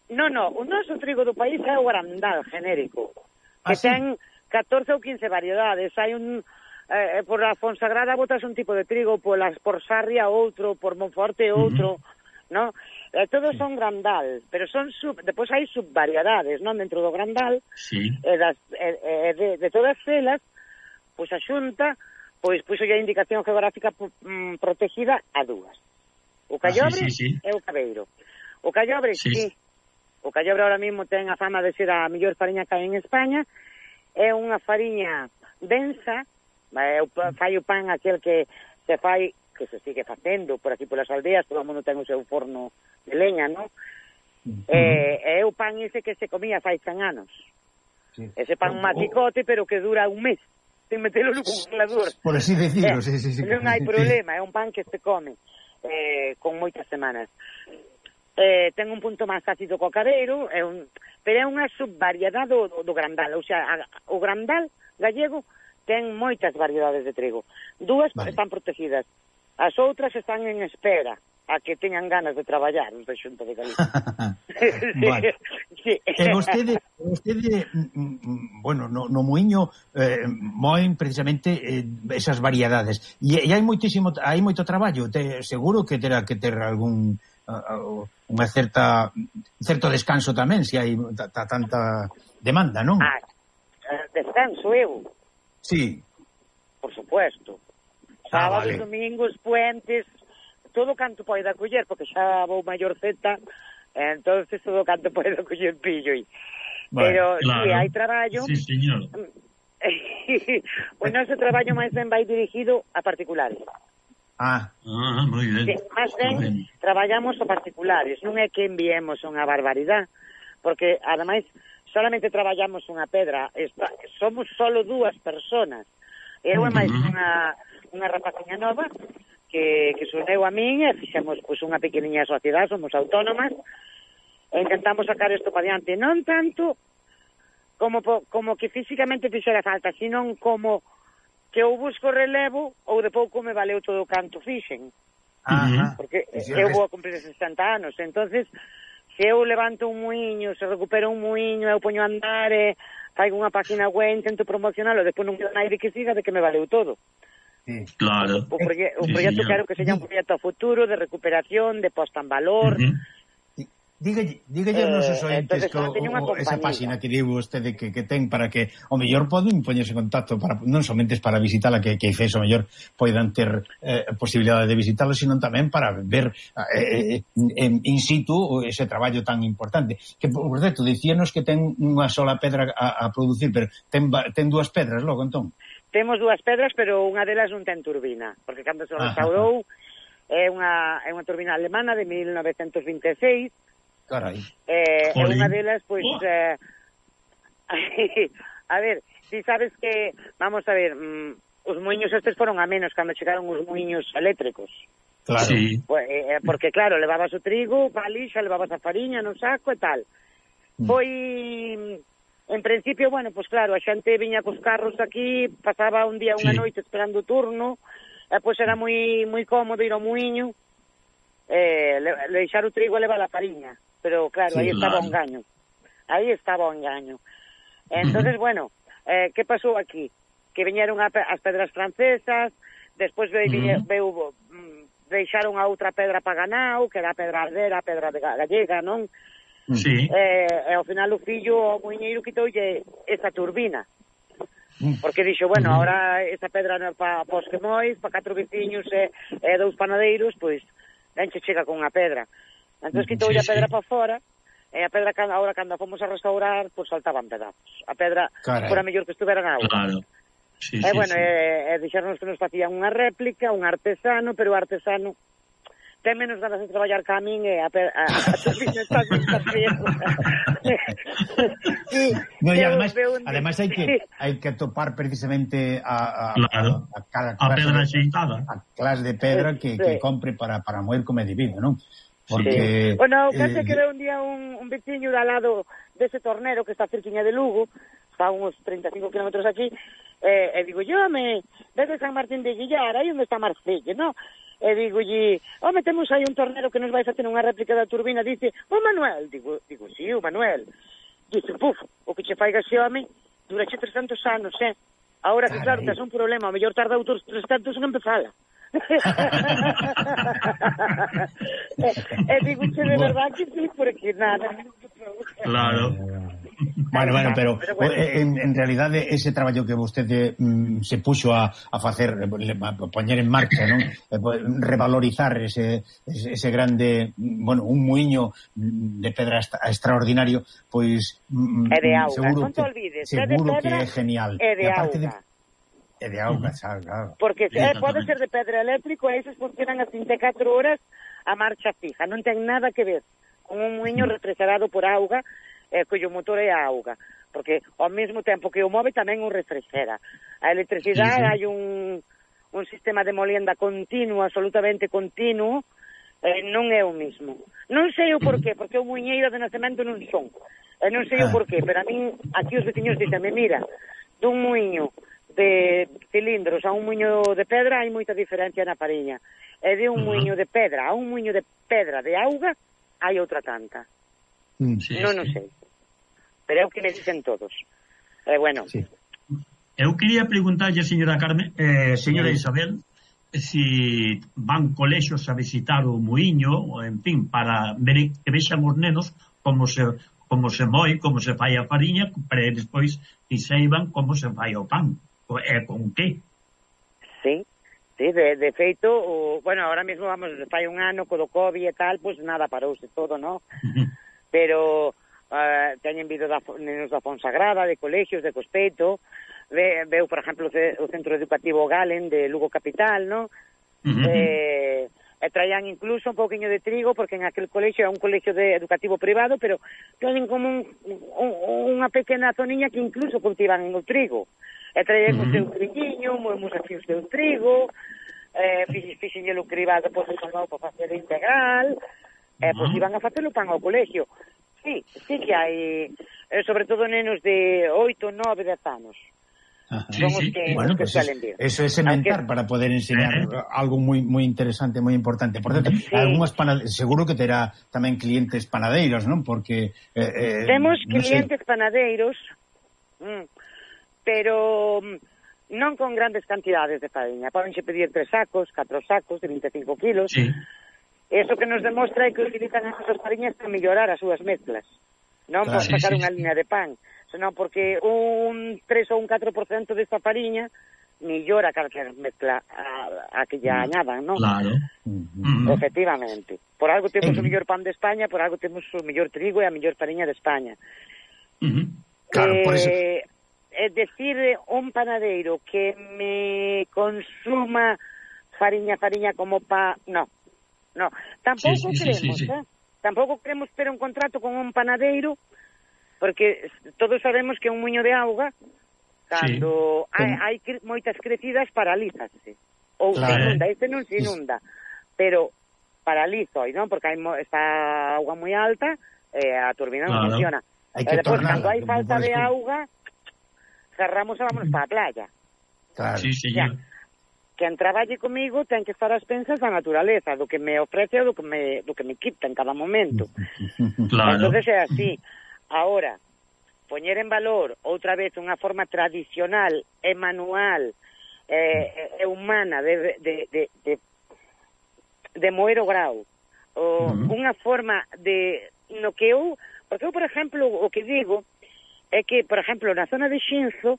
No, no, o noso trigo do país é o Grandal genérico, que ah, ten sí? catorce ou quince variedades. Hai un eh, por a Fonsagrada botas un tipo de trigo, por las por Sarria outro, por Monforte outro, uh-huh. ¿no? Eh, todos sí. son Grandal, pero son sub, depois hai subvariedades, non, dentro do Grandal. Sí. Eh, das, eh, eh, de, de todas elas, pois a Xunta pois puxo a indicación geográfica mm, protegida a dúas. O Callobre ah, sí, sí, sí. e o Cabeiro. O Callobre, sí. sí. O Callobre ahora mismo ten a fama de ser a mellor fariña que hai en España. É unha fariña densa, é, fai o pan aquel que se fai, que se sigue facendo por aquí polas aldeas, todo o mundo ten o seu forno de leña, non? Uh-huh. É, é o pan ese que se comía fai cen anos. Sí. Ese pan oh, maticote, oh. pero que dura un mes, sin metelo no congelador. Por así decirlo, eh, sí, sí, sí. Non hai problema, é un pan que se come eh, con moitas semanas. Eh, ten un punto máis ácido co Cabeiro, é un, pero é unha subvariedade do, do, do Grandal. O sea, a, o Grandal gallego ten moitas variedades de trigo. Dúas vale. están protegidas, as outras están en espera a que teñan ganas de traballar os da Xunta de Galicia. Vale. Sí. E vostede, vostede bueno, no, no muiño eh, moen precisamente eh, esas variedades. E, e hai moitísimo, hai moito traballo. Te, seguro que terá que ter algún uh, unha certa certo descanso tamén, se hai ta, tanta demanda, non? Ah, descanso eu. Sí. Por supuesto. Sábados, ah, vale. domingos, puentes, todo canto poida coller, porque xa vou maior zeta, entonces todo canto poida coller pillo. Vale, pero claro. Si hai traballo... Sí, señor. O noso traballo máis ben vai dirigido a particulares. Ah, ah moi ben. Sí, máis ben, ben traballamos a particulares, non é que enviemos unha barbaridade, porque, ademais, solamente traballamos unha pedra, esta, somos solo dúas personas. Eu e máis unha, unha rapaciña nova, que, que soneu a min e fixemos pois, unha pequeniña sociedade, somos autónomas e intentamos sacar isto para diante, non tanto como, como que físicamente fixera falta, sino como que eu busco relevo ou de pouco me valeu todo o canto fixen. Ajá. Porque eu vou a cumprir sesenta anos, entonces se eu levanto un muiño, se recupero un muiño, eu poño a andar e faigo unha página web, intento promocionalo, despois non queda naide que siga de que me valeu todo. Sí. Claro. O, proye o sí, proxecto quero que seja un proxecto a futuro de recuperación, de posta en valor. Uh -huh. Dígalle, dígalle aos nosos ointes que o, o, esa página que digo vostede que, que ten para que o mellor poden poñerse en contacto para, non somente para visitala, que, que fez o mellor poidan ter eh, posibilidade de visitalo, sino tamén para ver eh, en, in situ ese traballo tan importante. Que, por certo, dicíanos que ten unha sola pedra a, a producir, pero ten, ten dúas pedras logo, entón? Temos dúas pedras, pero unha delas non ten turbina, porque cando se restaurou é unha, é unha turbina alemana de mil novecentos vinte e seis. Carai. Eh, e unha delas, pois, oh. eh, a ver, si sabes que, vamos a ver, mm, os muiños estes foron a menos cando chegaron os muiños eléctricos. Claro. Sí. Pues, eh, porque, claro, levabas o trigo, a lixa, levabas a fariña no saco e tal. Mm. Foi, en principio, bueno, pues claro, a xente viña cos carros aquí, pasaba un día, unha sí. noite esperando o turno, e pois era moi moi cómodo ir ao muiño, eh, le, deixar o trigo e levar a fariña. Pero claro, sí, aí estaba claro. o engaño. Aí estaba o engaño. Entonces, uh -huh. bueno, eh, que pasou aquí? Que viñeron a, as pedras francesas, despois ve, uh -huh. veu, deixaron a outra pedra para ganao, que era a pedra ardera, a pedra de gallega, non? Sí. E, e ao final o fillo, o muiñeiro, quitoulle esa turbina. Porque dixo, bueno, Uh-huh. ahora esa pedra non é para pa os quemois, para catro veciños e, e dous panadeiros, pois, ben che chega con unha pedra. Entón, quitoulle Sí, a pedra sí. para fora, e a pedra, ahora, cando fomos a restaurar, pois saltaban pedazos. A pedra, Carai. fora mellor que estuvera na auga. Claro. Sí, E, sí, bueno, sí. e, e dixeronnos que nos facían unha réplica, un artesano, pero o artesano ten menos ganas de traballar ca min e a, pe- a, a turbina está sin riesgo. No, e ademais, ademais hai que hai que topar precisamente a, a, Claro. a, a cada A clase pedra de, axeitada. a clase de pedra que, Sí. que compre para, para moer como é debido, non? Porque... Sí. Bueno, case eh, que ve un día un, un veciño de al lado dese tornero que está cerquiña de Lugo, está a uns treinta e cinco kilómetros aquí, eh, e digo, yo, me, desde San Martín de Guillar, aí onde está Marcelle, no? E digo, lle, home, temos aí un tornero que nos vai facer unha réplica da turbina, dice, o Manuel, digo, digo, sí, o Manuel. Dice, puf, o que che faiga ese home, durache trescentos anos, eh? Ahora que, claro, tes un problema, o mellor tarda outros trescentos en empezala. e, e digo, che, de verdad que sí, porque nada. Claro. Bueno, bueno, pero, Pero bueno. en, en realidade ese traballo que vostede mm, se puxo a, a facer, a poñer en marcha, non? Revalorizar ese, ese, ese grande, bueno, un muiño de pedra extra, extraordinario, pois mm, E de auga, seguro non te que, olvides, seguro é de pedra que é genial. e de E aparte auga. de, e de auga, xa, claro. Porque eh, Exactamente. pode ser de pedra eléctrico e esos funcionan as vinte e catro horas a marcha fija, non ten nada que ver con un muiño refrigerado por auga, eh, cuyo motor é a auga, porque ao mesmo tempo que o move tamén o refrigera. A electricidade, Sí, sí. hai un, un sistema de molienda continuo, absolutamente continuo, eh, non é o mismo. Non sei o porqué, porque o muiñeiro de nacemento non son. E non sei o Ah. porqué, pero a min, aquí os veciños dicen, mira, dun muiño de cilindros a un muiño de pedra hai moita diferencia na fariña. E de un Uh-huh. muiño de pedra a un muiño de pedra de auga hai outra tanta. Mm. Sí, non o sí. sei. Pero é o que me dicen todos. E eh, bueno, Sí. Eu quería preguntarlle, señora Carmen, eh, señora Sí. Isabel, si van colexios a visitar o muiño, ou, en fin, para ver que vexan os nenos como se como se moi, como se fai a fariña, para despois que seiban como se fai o pan. E con que? sí, sí, de, de feito, o, bueno, ahora mesmo vamos, fai un ano co do COVID e tal, pois pues nada, parouse todo, ¿no? Pero uh, teñen vido da, nenos da Fonsagrada, de colexios, de Cospeto, ve, veu, por exemplo, o Centro Educativo Galen de Lugo Capital, ¿no? Uh-huh. eh, e traían incluso un pouquiño de trigo, porque en aquel colexio é un colexio de educativo privado, pero teñen como un, un, unha pequena zoniña que incluso cultivan o trigo. E traían uh-huh. o seu triquiño, moemos así o seu trigo, eh, fixenlle o cribado, pois, salvado para facer integral, e, pois, Uh-huh. iban a facer o pan ao colexio. Sí, sí que hai, eh, sobre todo nenos de oito, nove, dez anos. Ajá. Sí, Son os sí. que, Bueno, os que pues suelen es, vir. eso es sementar Aunque- para poder enseñar Eh. algo muy muy interesante, muy importante. Por cierto, Sí. algunhas panade- seguro que terá tamén clientes panadeiros, non? Porque eh, eh, Temos non sei. clientes panadeiros, mm, pero mm, non con grandes cantidades de fariña. Pódense pedir tres sacos, catro sacos de vinte e cinco kilos. Sí. Eso que nos demostra é que utilizan esas fariñas para mellorar as súas mezclas. Non Claro. por sacar Sí, sí, unha sí. línea de pan, senón porque un tres ou un catro por cento desta fariña mellora calquer mezcla a, a que lle añadan, non? Claro. Mm. Uh-huh. Efectivamente. Por algo temos Eh. o mellor pan de España, por algo temos o mellor trigo e a mellor fariña de España. Uh-huh. Claro, por eso. Eh, é decir, un panadeiro que me consuma fariña, fariña como pa... No, no. Tampouco Sí, sí, sí, queremos, sí, sí. eh? Tampouco queremos ter un contrato con un panadeiro, porque todos sabemos que un muiño de auga, cando Sí. hai, hai cre- moitas crecidas, paralízase. Ou se Claro. inunda, este non se inunda, pero paralizo, non? Porque hai mo, está auga moi alta, e a turbina non Claro. funciona. Hai E que despois, tornarla, cando hai como falta podes de tú. auga, cerramos e vámonos para a playa. Claro. Sí, señor. Quen traballe comigo ten que estar ás pensas da naturaleza, do que me ofrece ou do que me, do que me quita en cada momento. Claro. Entonces é así. Ahora, poñer en valor outra vez unha forma tradicional e manual e, e humana de, de, de, de, de moer o grau. O, Uh-huh. unha forma de no que eu Porque eu, por exemplo, o que digo é que, por exemplo, na zona de Xinzo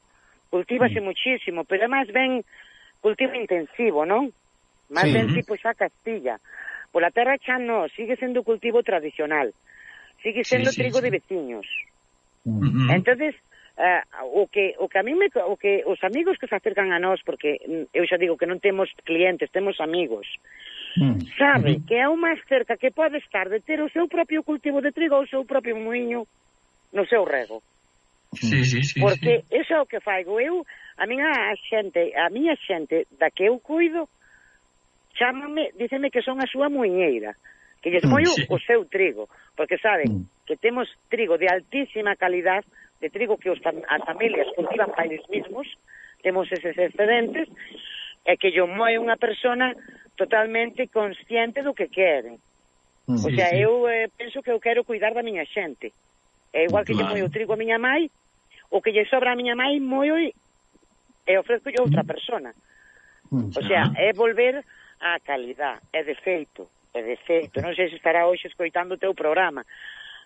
cultívase mm. muchísimo, pero é máis ben cultivo intensivo, non? Máis sí. ben tipo xa Castilla. Pola terra xa non, sigue sendo cultivo tradicional. Sigue sendo sí, sí, trigo sí. de veciños. Mm-hmm. Entonces, uh, o que o que a mí me o que os amigos que se acercan a nós, porque eu xa digo que non temos clientes, temos amigos. Mm. Sabe mm-hmm. que é o máis cerca que pode estar de ter o seu propio cultivo de trigo ou o seu propio moinho no seu rego. Sí, sí, sí, porque sí. iso é o que faigo eu, a miña xente, a miña xente da que eu cuido, chámame, díceme que son a súa muiñeira, que lles moio sí. o seu trigo, porque saben mm. que temos trigo de altísima calidad, de trigo que os, as familias cultivan para eles mismos, temos eses excedentes, e que yo moe unha persona totalmente consciente do que quere. Mm, o sea, sí, eu eh, penso que eu quero cuidar da miña xente. É igual que claro. lle moi o trigo a miña mai, o que lle sobra a miña mai moi e ofrezco yo a outra persona. Mm, o sea, é volver á calidad, é de feito, é de feito. Non sei se estará hoxe escoitando o teu programa.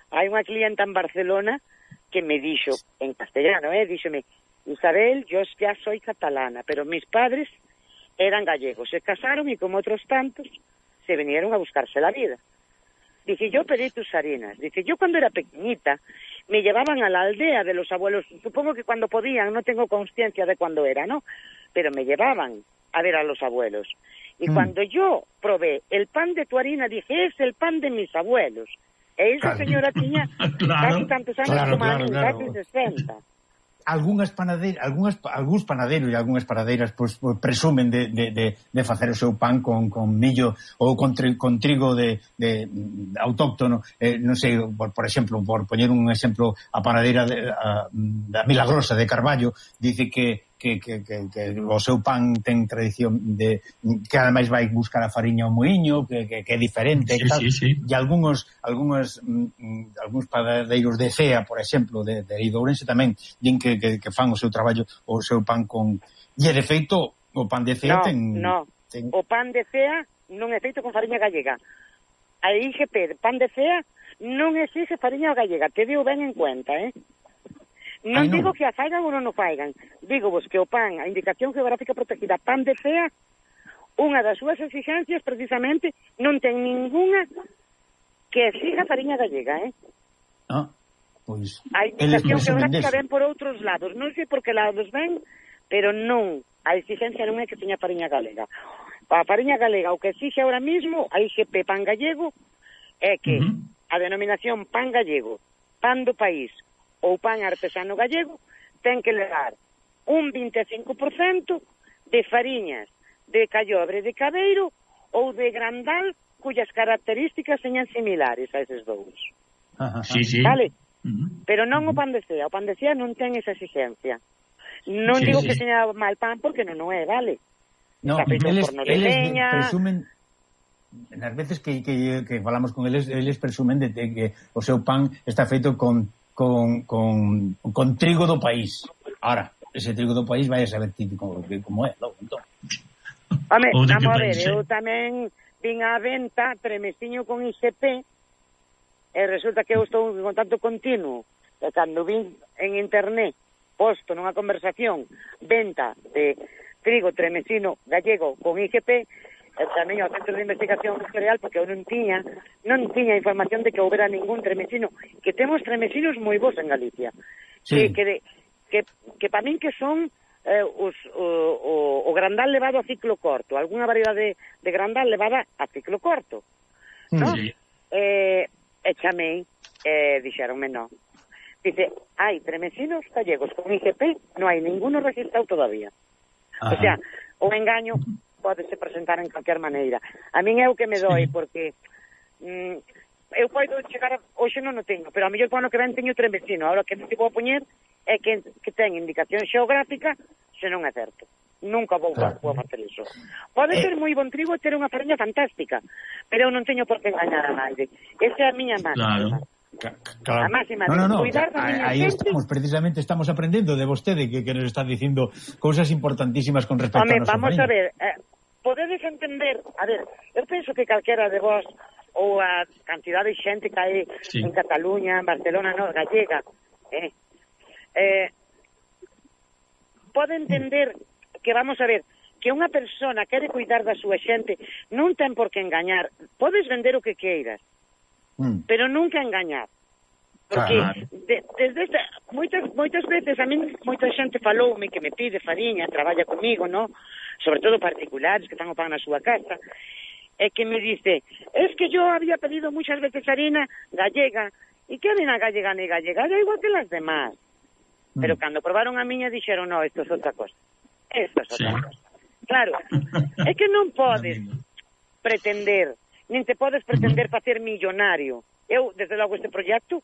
Hai unha clienta en Barcelona que me dixo, en castellano, eh, díxome, Isabel, yo ya soy catalana, pero mis padres eran gallegos, se casaron y como otros tantos se vinieron a buscarse la vida. Dice, yo pedí tus harinas. Dice, yo cuando era pequeñita me llevaban a la aldea de los abuelos, supongo que cuando podían, no tengo conciencia de cuándo era, ¿no? Pero me llevaban a ver a los abuelos. Y mm. cuando yo probé el pan de tu harina, dije, es el pan de mis abuelos. E esa claro. señora tiña claro. casi tantos años claro, como claro, a mí, claro. casi sesenta. Algúnas panadeiras, algúnas, algúns panaderos e algúnas panadeiras pois, pois, presumen de, de, de, de facer o seu pan con, con millo ou con, tri, con trigo de, de, de autóctono, eh, non sei, por, por exemplo, por poñer un exemplo, a panadeira de, a, da Milagrosa de Carballo dice que Que, que, que, que o seu pan ten tradición de que ademais vai buscar a fariña ao muiño, que, que, que é diferente sí, e tal, sí, sí. e algúns algúns mm, algúns padadeiros de Cea, por exemplo, de, de Ourense tamén din que, que, que fan o seu traballo o seu pan con e de feito o pan de Cea no, ten, no. ten o pan de Cea non é feito con fariña gallega. A I G P de pan de Cea non exixe fariña gallega, te digo ben en cuenta, eh. Non Ay, no. digo que a faigan ou non o faigan. Digo vos que o pan, a indicación geográfica protegida pan de Cea, unha das súas exigencias precisamente non ten ninguna que exija fariña gallega, eh? Ah, pois... A indicación geográfica ven por outros lados. Non sei por que lados ven, pero non. A exigencia non é que teña fariña galega. A fariña galega, o que exixe ahora mismo, a I G P pan gallego, é que uh-huh. a denominación pan gallego, pan do país, ou pan artesano gallego, ten que levar un vinte e cinco por cento de fariñas de callobre de cabeiro ou de grandal cuyas características señan similares a eses dous. Ajá, sí, sí. Vale? Uh-huh. Pero non o pan de Cea. O pan de Cea non ten esa exigencia. Non sí, digo sí. que seña mal pan porque non o é, vale? No, eles, eles presumen... Nas veces que, que, que falamos con eles, eles presumen de, de que o seu pan está feito con Con, con, con trigo do país. Ahora, ese trigo do país vai a saber como, como é, logo, entón. Home, vamos a ver, eu tamén vin a venta tremestiño con I G P e resulta que eu estou en contacto continuo e cando vin en internet posto nunha conversación venta de trigo tremesino gallego con I G P e tamén ao Centro de Investigación Real, porque eu non tiña non tiña información de que houbera ningún tremesino, que temos tremesinos moi bons en Galicia, sí. que, que, de, que, que para min que son eh, os, o, o, o grandal levado a ciclo corto, algunha variedade de, de grandal levada a ciclo corto, ¿no? Sí. Eh, e chamei, e dixeronme non. Dice, hai tremesinos gallegos con I G P, non hai ninguno registrado todavía. Ajá. O sea, o engaño podese presentar en calquer maneira. A min é o que me doi, sí. porque mm, eu podo chegar, a, hoxe non o teño, pero a mellor para o que ven teño tremesino. Ahora, que non te vou poñer é que, que ten indicación xeográfica, se non é certo. Nunca vou, claro. vou facer iso. Pode eh. ser moi bon trigo e ter unha fariña fantástica, pero eu non teño por que engañar a nadie. Esa é a miña máxima. Claro. Claro. A máxima no, no, no. cuidar da miña Aí gente. estamos, precisamente estamos aprendendo de vostede que, que nos está dicindo cousas importantísimas con respecto Home, a nosa vamos fariña. A ver, eh, podedes entender, a ver, eu penso que calquera de vos ou a cantidad de xente que hai sí. en Cataluña, en Barcelona, no, gallega, eh, eh, pode entender que, vamos a ver, que unha persona quere cuidar da súa xente, non ten por que engañar. Podes vender o que queiras, mm. pero nunca engañar. Porque claro. de, desde esta, moitas, moitas veces a mí moita xente faloume que me pide fariña, traballa comigo, no? Sobre todo particulares que están o pan na súa casa, e que me dice, es que yo había pedido muchas veces harina gallega, e que harina gallega ni gallega, era igual que las demás. Mm. Pero cando probaron a miña dixeron, no, esto es outra cosa. Esto es outra sí. cosa. Claro, é que non podes pretender, nin te podes pretender facer millonario. Eu, desde logo, este proxecto,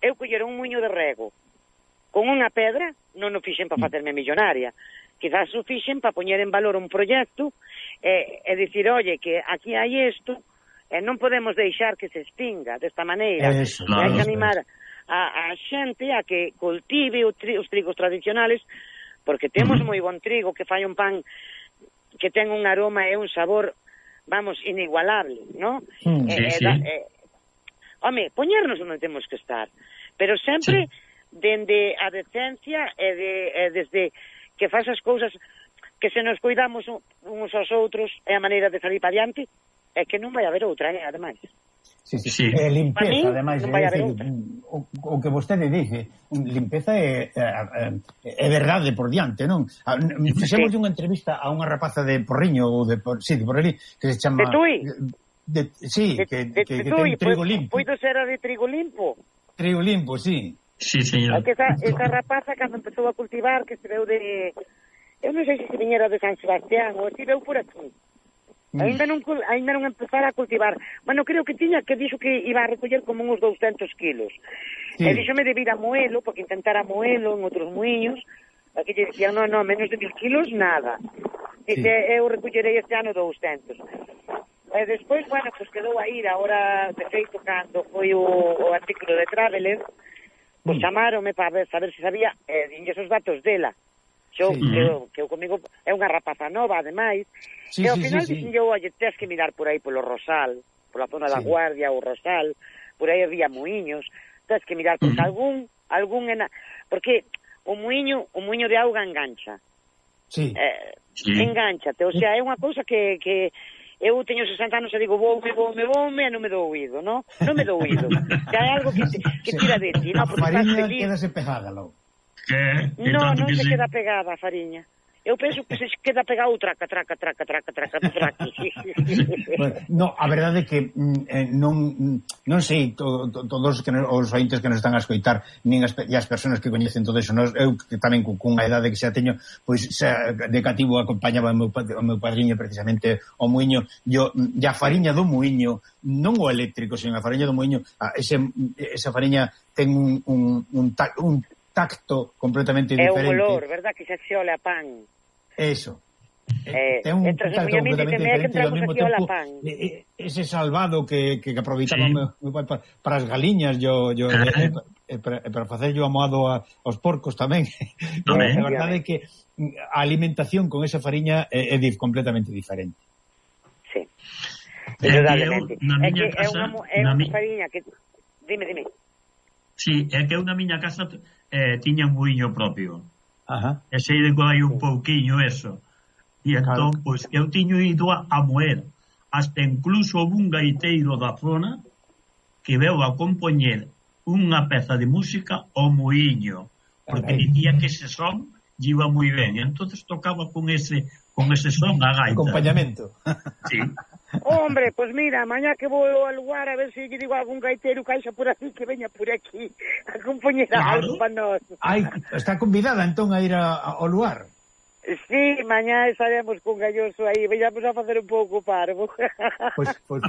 eu coller un muiño de rego con unha pedra, non o fixen para facerme millonaria. Quizás o fixen para poñer en valor un proxecto e, e dicir, oye, que aquí hai isto, e non podemos deixar que se extinga desta maneira. Eso, e hai que animar a, a xente a que cultive o tri, os trigos tradicionales, porque temos moi bon trigo que fai un pan que ten un aroma e un sabor, vamos, inigualable, ¿no? Mm, eh, sí, sí. Eh, eh, home, poñernos onde temos que estar, pero sempre sí. dende a decencia e, de, e desde que faz as cousas que se nos cuidamos uns aos outros e a maneira de salir para diante, é que non vai haber outra, eh, ademais. Sí, sí, sí. Eh, limpeza, mí, ademais, non vai é haber decir, o, o que vostede dice, limpeza é, é, é verdade por diante, non? Fixemos sí. unha entrevista a unha rapaza de Porriño, ou de, sí, de Porrelí, que se chama... De Tui? De, sí, de, que, de, que, de que Tui, ten trigo limpo. Poido ser a de trigo limpo? Trigo limpo, sí. Sí, señor. É que esa, esa rapaza, cando empezou a cultivar, que se veu de... Eu non sei se se viñera de San Sebastián, ou se veu por aquí. Ainda non, ainda non empezara a cultivar. Bueno, creo que tiña que dixo que iba a recoller como uns douscentos kilos. Sí. E díxome de vir a moelo, porque intentara moelo en outros muiños. Aquí lle dicían, non, non, menos de mil kilos, nada. Dice, sí. eu recollerei este ano douscentos. E despois, bueno, pues quedou a ir. Ahora, de feito, cando foi o, o artículo de Traveler, pues mm. chamaronme para ver, saber se sabía, e eh, dinlles os datos dela. Xo, sí. que, eu, que eu comigo é unha rapaza nova, ademais, sí, e ao sí, final sí, dixen sí. eu, oye, tens que mirar por aí polo Rosal, pola zona sí. da Guardia, o Rosal, por aí había muiños, tens que mirar, porque uh -huh. algún, algún ena... porque o muiño, o muiño de auga engancha. Sí. Eh, sí. Engánchate, o sea, é unha cousa que, que eu teño sesenta anos e digo, voume, voume, voume, e non me dou oído, non? Non me dou oído. Que hai algo que, que tira de ti, non? A fariña quedase pegada, logo. Que, no, non se sí. queda pegada a fariña. Eu penso que se queda pegado traca, traca, traca, traca, traca, traca. Bueno, no, a verdade é que eh, non non sei to, to, todos que nos, os ointes que nos están a escoitar, nin as, e as persoas que coñecen todo eso, nos, eu que tamén con, con a idade que xa teño, pois xa, de cativo acompañaba o meu, o meu padriño precisamente o muiño, yo, e a fariña do muiño, non o eléctrico, sino a fariña do muiño, ese, esa fariña ten un, un, un, un tacto completamente diferente. É un olor, verdad, que xa se ole a pan. Eso. Eh, ten un tacto completamente diferente, ao mesmo tempo ese salvado que, que aproveitaba sí. meu, meu pai para, para as galiñas, yo, yo, eh, eh, para, para facer yo amoado a, aos porcos tamén. No, a verdade é que a alimentación con esa fariña é, é completamente diferente. Sí. Indudablemente. É que é unha, é unha fariña que... Dime, dime. Sí, é que eu na miña casa eh, tiña un muiño propio. Ajá. E sei de hai un pouquiño eso. E entón, claro. pois, eu tiño ido a, a moer. Hasta incluso un gaiteiro da zona que veu a compoñer unha peza de música ao muiño. Porque okay. dicía que ese son iba moi ben. E entonces tocaba con ese con ese son a gaita. Acompañamento. Sí. Hombre, pois pues mira, mañá que vou ao lugar a ver se lle digo a algún gaiteiro caixa por aquí que veña por aquí a acompañar claro. algo para nós. Ai, está convidada entón a ir a, a, ao lugar. Sí, mañá estaremos con Galloso aí, veñamos a facer un pouco parvo. Pois, pois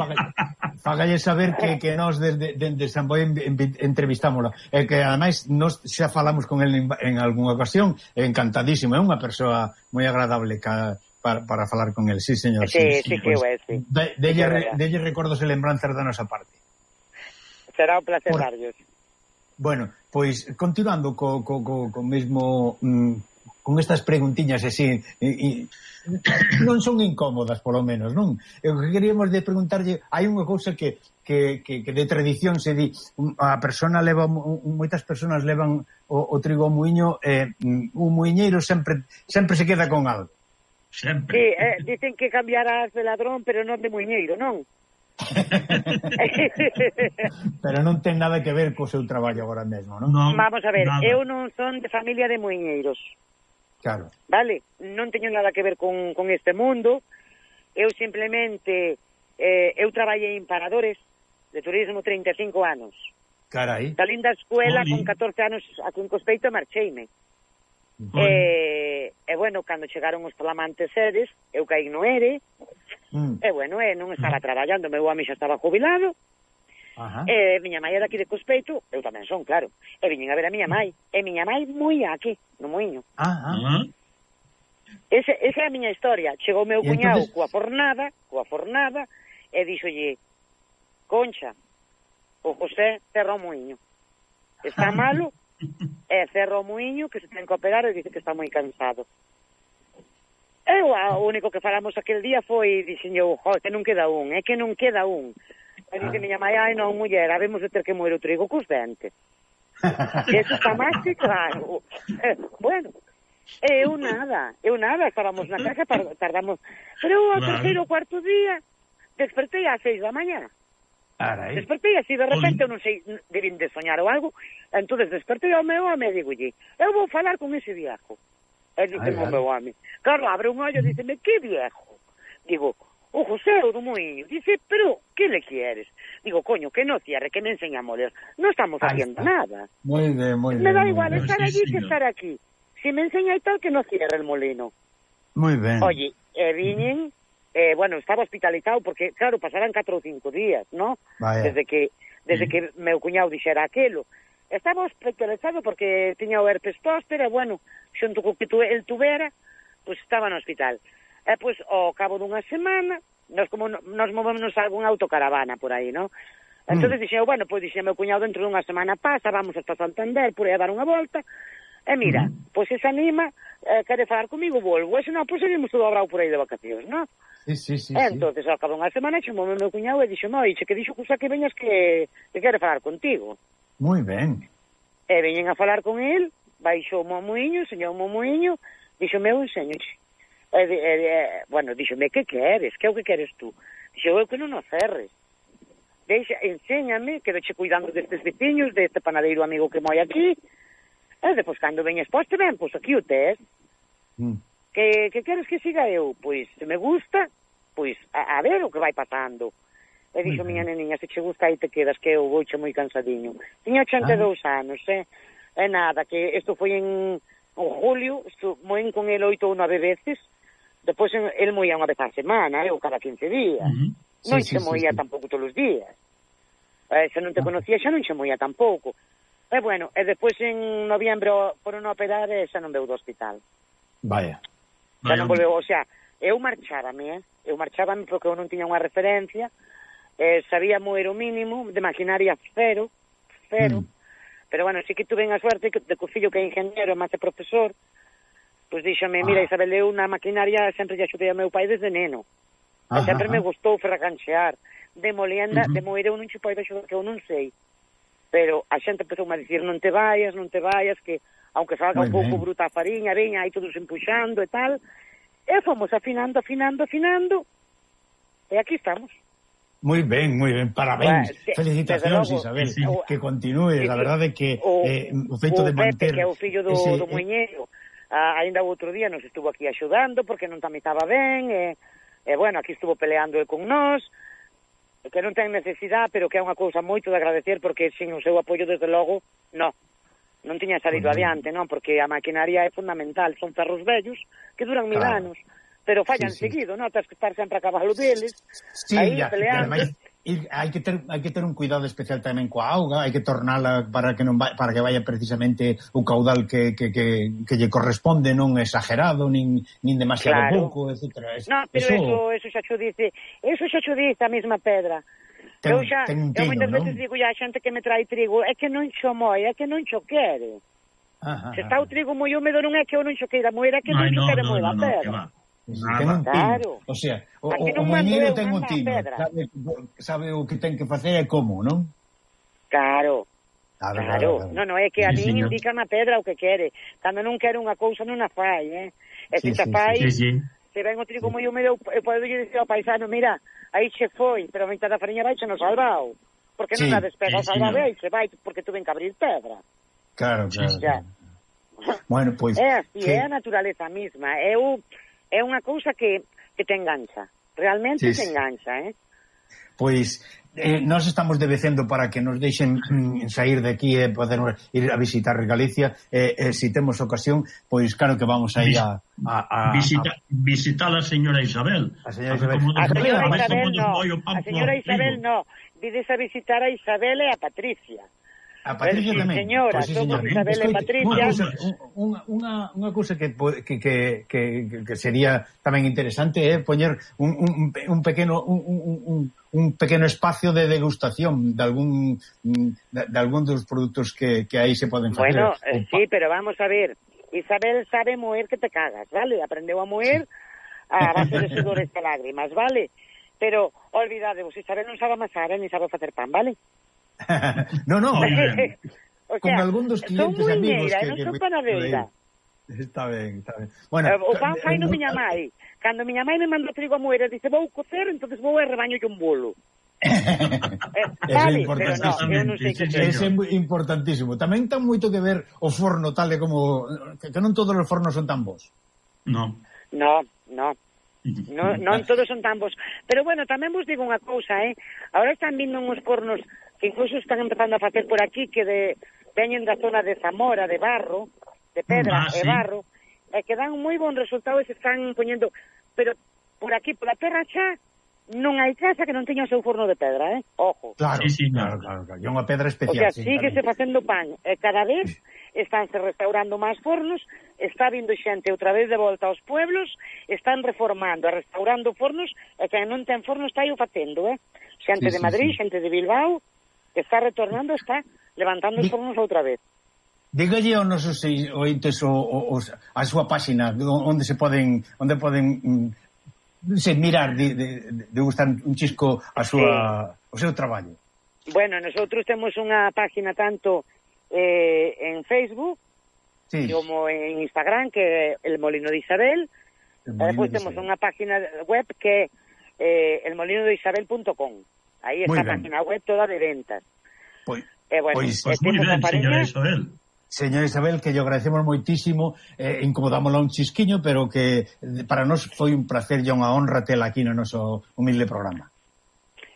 fagalle saber que, que nós desde, desde San Boi entrevistámoslo. E que ademais nós xa falamos con el en, en algunha ocasión, encantadísimo, é unha persoa moi agradable ca, para, para falar con el, sí, señor. Sí, sí, sí, sí que pues, é, sí. De, delle, sí, delle recordos e lembranzas da nosa parte. Será un placer darllos. Bueno, pois continuando co, co, co, co mesmo... Mm, con estas preguntiñas así e, e, non son incómodas polo menos, non? E o que queríamos de preguntarlle, hai unha cousa que, que, que, que de tradición se di, a persona leva, moitas persoas levan o, o trigo ao muiño e un muiñeiro sempre sempre se queda con algo. Sempre. Sí, eh, dicen que cambiarás de ladrón, pero non de muiñeiro, non? Pero non ten nada que ver co seu traballo agora mesmo, non? Non, Vamos a ver, nada. eu non son de familia de muiñeiros. Claro. Vale, non teño nada que ver con, con este mundo. Eu simplemente eh, eu traballei en paradores de turismo trinta e cinco anos. Carai. Salín da escuela Oli. con catorce anos a Cuncospeito e marcheime. Oli. E, e bueno, cando chegaron os flamantes seres, eu caí no ERE. Mm. E bueno, e non estaba traballando, meu home xa estaba jubilado. Ajá. E miña mãe era aquí de Cospeito, eu tamén son, claro. E viñen a ver a miña mãe. E miña mãe moi aquí, no muiño. Ah, ah. Ah, Ese, esa é a miña historia. Chegou o meu E cuñado entonces- coa fornada, coa fornada, e díxolle, Concha, o José cerra o muiño. Está malo, e cerra o muiño, que se ten que operar, e dice que está moi cansado. Eu, a, o único que falamos aquel día foi, dixen eu, jo, que non queda un, é que non queda un. E dice miña mãe, ai non, muller, habemos de ter que moer o trigo cos dentes. Eso está máis que claro. Eh, bueno, eu nada, eu nada, estábamos na casa, tardamos, pero o Claro. terceiro ou cuarto día, despertei ás seis da mañá. Carai. Despertei así, de repente, eu non sei, debín de soñar ou algo, entonces despertei ao meu home e digolle, eu vou falar con ese viejo. E dice o meu home, claro, abre un ollo e díceme, que viejo? Digo, o José o do muiño. Dice, pero, que le quieres? Digo, coño, que no cierre, que me enseña a moler. No estamos Ahí haciendo está. nada. Moi ben, moi ben. Me da moi igual ben. estar Sí, allí que señor. estar aquí. Si me enseña y tal, que no cierre el molino. Moi ben. Oye, e viñen, eh, bueno, estaba hospitalizado porque, claro, pasaran catro ou cinco días, ¿no? Vaya. Desde que desde que meu cuñado dixera aquelo. Estaba hospitalizado porque tiña o herpes póster e, bueno, xunto co que tu, el tuvera, pois pues, estaba no hospital. E, pois, pues, ao cabo dunha semana, nos como no- nos movemos a algunha autocaravana por aí, ¿no? Entonces dixen, bueno, pois pues, dixen meu cuñado, dentro dunha semana pasa, vamos hasta Santander, por aí a dar unha volta. E mira, pois pues, se anima, eh, quere falar comigo, volvo. E se non, pois pues, seguimos todo abrao por aí de vacacións, ¿no? Sí, sí, sí. E sí. entonces, ao cabo dunha semana, chamoume meu cuñado e dixo, moi, che que dixo cousa que veñas que, que quere falar contigo. Moi ben. E veñen a falar con el, baixou o muiño, enseñou o muiño, dixo, meu, enseñoche. E, e, e, bueno, dixome, que queres? Que é o que queres tú? Dixo, eu que non o cerres. Deixa, enséñame, quedoche cuidando destes veciños, deste panadeiro amigo que moi aquí, e depois, cando veñes poste, ben, pois aquí o tes. Mm. Que, que queres que siga eu? Pois, se me gusta, pois, a, a ver o que vai pasando. E dixo, miña neniña, se che gusta aí te quedas, que eu vouche moi cansadiño. Tiña ochenta e dous anos, eh? E nada, que isto foi en, en julio, moen con el oito ou nove veces, depois en, el moía unha vez á semana, eu cada quince días. Ujú. Non Sí, se sí, moía sí, sí. tampouco todos os días. Eh, se non te conocía xa non se moía tampouco. E bueno, e depois en noviembre foron a operar e xa non veu do hospital. Vaya. Xa Vaya, non volveu, o sea, eu marchábame, eh? Eu marchábame porque eu non tiña unha referencia, eh, sabía moer o mínimo, de maquinaria cero, cero, Mm. pero bueno, sí que tuve a suerte que, de que o fillo que é ingeniero e máis é profesor, pois díxome, mira, Ah. Isabel, eu na maquinaria sempre lle axudei a meu pai desde neno, e Ajá, sempre me ajá. gustou ferracanchear, de molienda, Ujú. de moer eu non che podo axudar, que eu non sei, pero a xente empezou a dicir, non te vayas, non te vayas, que aunque salga Moi un pouco ben. bruta a fariña, veña aí todos empuxando e tal, e fomos afinando, afinando, afinando, e aquí estamos. Moi ben, moi ben, parabéns. Bueno, sí, Felicitacións, desde logo, Isabel. sí. Que continúe, Sí, a sí. verdade é que O, eh, o feito o de Pepe, manter que é o fillo do, ese, do eh, muiñeiro, ah, ainda o outro día nos estuvo aquí axudando porque non tamitaba ben, e, e bueno, aquí estuvo peleando el con nós, que non ten necesidade, pero que é unha cousa moito de agradecer, porque sin o seu apoio, desde logo, no, non tiña salido Bueno. adiante, non, porque a maquinaria é fundamental, son ferros vellos que duran mil Claro. anos, pero fallan Sí, sí. seguido, non, tens que estar sempre a cabalo deles, Sí, aí ya, peleando. ademais, ir, hai que ter hai que ter un cuidado especial tamén coa auga, hai que tornala para que non vai, para que vaya precisamente o caudal que, que, que, que lle corresponde, non exagerado, nin, nin demasiado Claro. pouco, etcétera. Es, No, pero eso, eso xa xo dice, eso xa xo dice a mesma pedra. Ten- eu xa, ten un eu tino, moitas non? veces digo a xente que me trae trigo, é que non xo moi, é que non xo quere. Se está o trigo moi húmedo non é que eu non xo queira moer, é que non xo queira moer a pedra. Claro. O sea, o, o moinero ten un tino, sabe, sabe o que ten que facer e como, non? Claro. Claro, claro, claro, claro. Non, non, é que a min indica na pedra o que quere. Cando non quere unha cousa non a fai, eh? E se Sí, se sí, fai, Sí, sí. se ven o trigo moi húmedo, eu podo dicir ao paisano, mira, aí che foi, pero a mitad da fariña vai che no salvao. Porque non Sí, a despega o sí, salvado sí, aí se vai, porque tuven que abrir pedra. Claro, claro. Sí, Ya. Bueno, pois... É así, que... é a naturaleza mesma. É, o, é unha cousa que, que te engancha. Realmente Sí, te sí. engancha, eh? Pois eh, nós estamos debecendo para que nos deixen mm, sair de aquí e eh, poder ir a visitar Galicia e eh, eh, se temos ocasión, pois claro que vamos a ir a... a, a, Visita, a... visitar a señora Isabel. A señora Isabel. A señora Vai Isabel como no, moi o pan a señora por Isabel trigo. no. Vides a visitar a Isabel e a Patricia. A Patricia Sí, tamén. señora, Pois sí, somos señora. Isabel e Escoite, Patricia. Unha cousa, unha, unha, unha cousa que, que, que, que, que sería tamén interesante é eh, poñer un, un, un pequeno un, un, un pequeno espacio de degustación de algún de, de algún dos produtos que, que aí se poden facer. Bueno, eh, sí, pero vamos a ver. Isabel sabe moer que te cagas, ¿vale? Aprendeu a moer a base de sudores e lágrimas, ¿vale? Pero, olvidadevos, Isabel non sabe amasar, eh, ni sabe facer pan, ¿vale? no, no. O sea, con algún dos clientes son amigos muiñeira, que, non que son me... panadeira. Está ben, está ben. Bueno, Eh, o pan fai no eh, miña mai. Cando miña mai me manda trigo a moer, dice, vou cocer, entonces vou e rebaño un bolo. eh, vale, pero no, eu non sei que Sí, Ese é moi importantísimo. Tamén ten moito que ver o forno tal e como... Que, que non todos os fornos son tan bons. No. No, no. No, non todos son tan bons. Pero bueno, tamén vos digo unha cousa, eh? Ahora están vindo uns fornos que incluso están empezando a facer por aquí que de, veñen da zona de Zamora, de barro, de pedra Ah, e sí. barro, e que dan moi bon resultado e se están poñendo... Pero por aquí, por a terra xa, non hai casa que non teña o seu forno de pedra, eh? Ojo. Claro, Sí, sí, claro, claro, claro. E unha pedra O especial. sea, sí, síguese tamén. facendo pan. E cada vez estánse restaurando máis fornos, está vindo xente outra vez de volta aos pueblos, están reformando e restaurando fornos, e que non ten forno está aí o facendo, eh? Xente Sí, de sí, Madrid, sí. xente de Bilbao, que está retornando, está levantando os Di- fornos outra vez. Dígalle aos nosos ointes o, o, o, a súa páxina onde se poden onde poden mm, se mirar de, de, de gustar un chisco a súa o seu traballo. Bueno, nosotros temos unha página tanto eh, en Facebook Sí. como en Instagram, que é El Molino de Isabel. El E Molino despois de temos Isabel. unha página web que é eh, el molino de isabel punto com. Aí Muy está a ben. página web toda de ventas. Pois, E bueno, Pois- e Pues moi temos a ben, señora pareña, Isabel. señor Isabel, que lle agradecemos moitísimo, eh, incomodámosla un chisquiño, pero que eh, para nós foi un placer e unha honra tela aquí no noso humilde programa.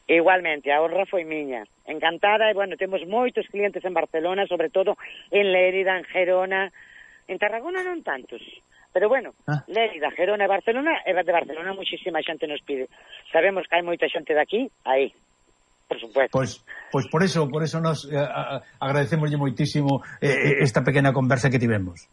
igualmente, a honra foi miña. Encantada, e bueno, temos moitos clientes en Barcelona, sobre todo en Lérida, en Gerona, en Tarragona non tantos. Pero bueno, Ah. Lérida, Gerona e Barcelona, e de Barcelona muchísima xente nos pide. Sabemos que hai moita xente de aquí, aí, por supuesto. Pois, pois por eso, por eso nos eh, a- agradecemoslle moitísimo eh, esta pequena conversa que tivemos.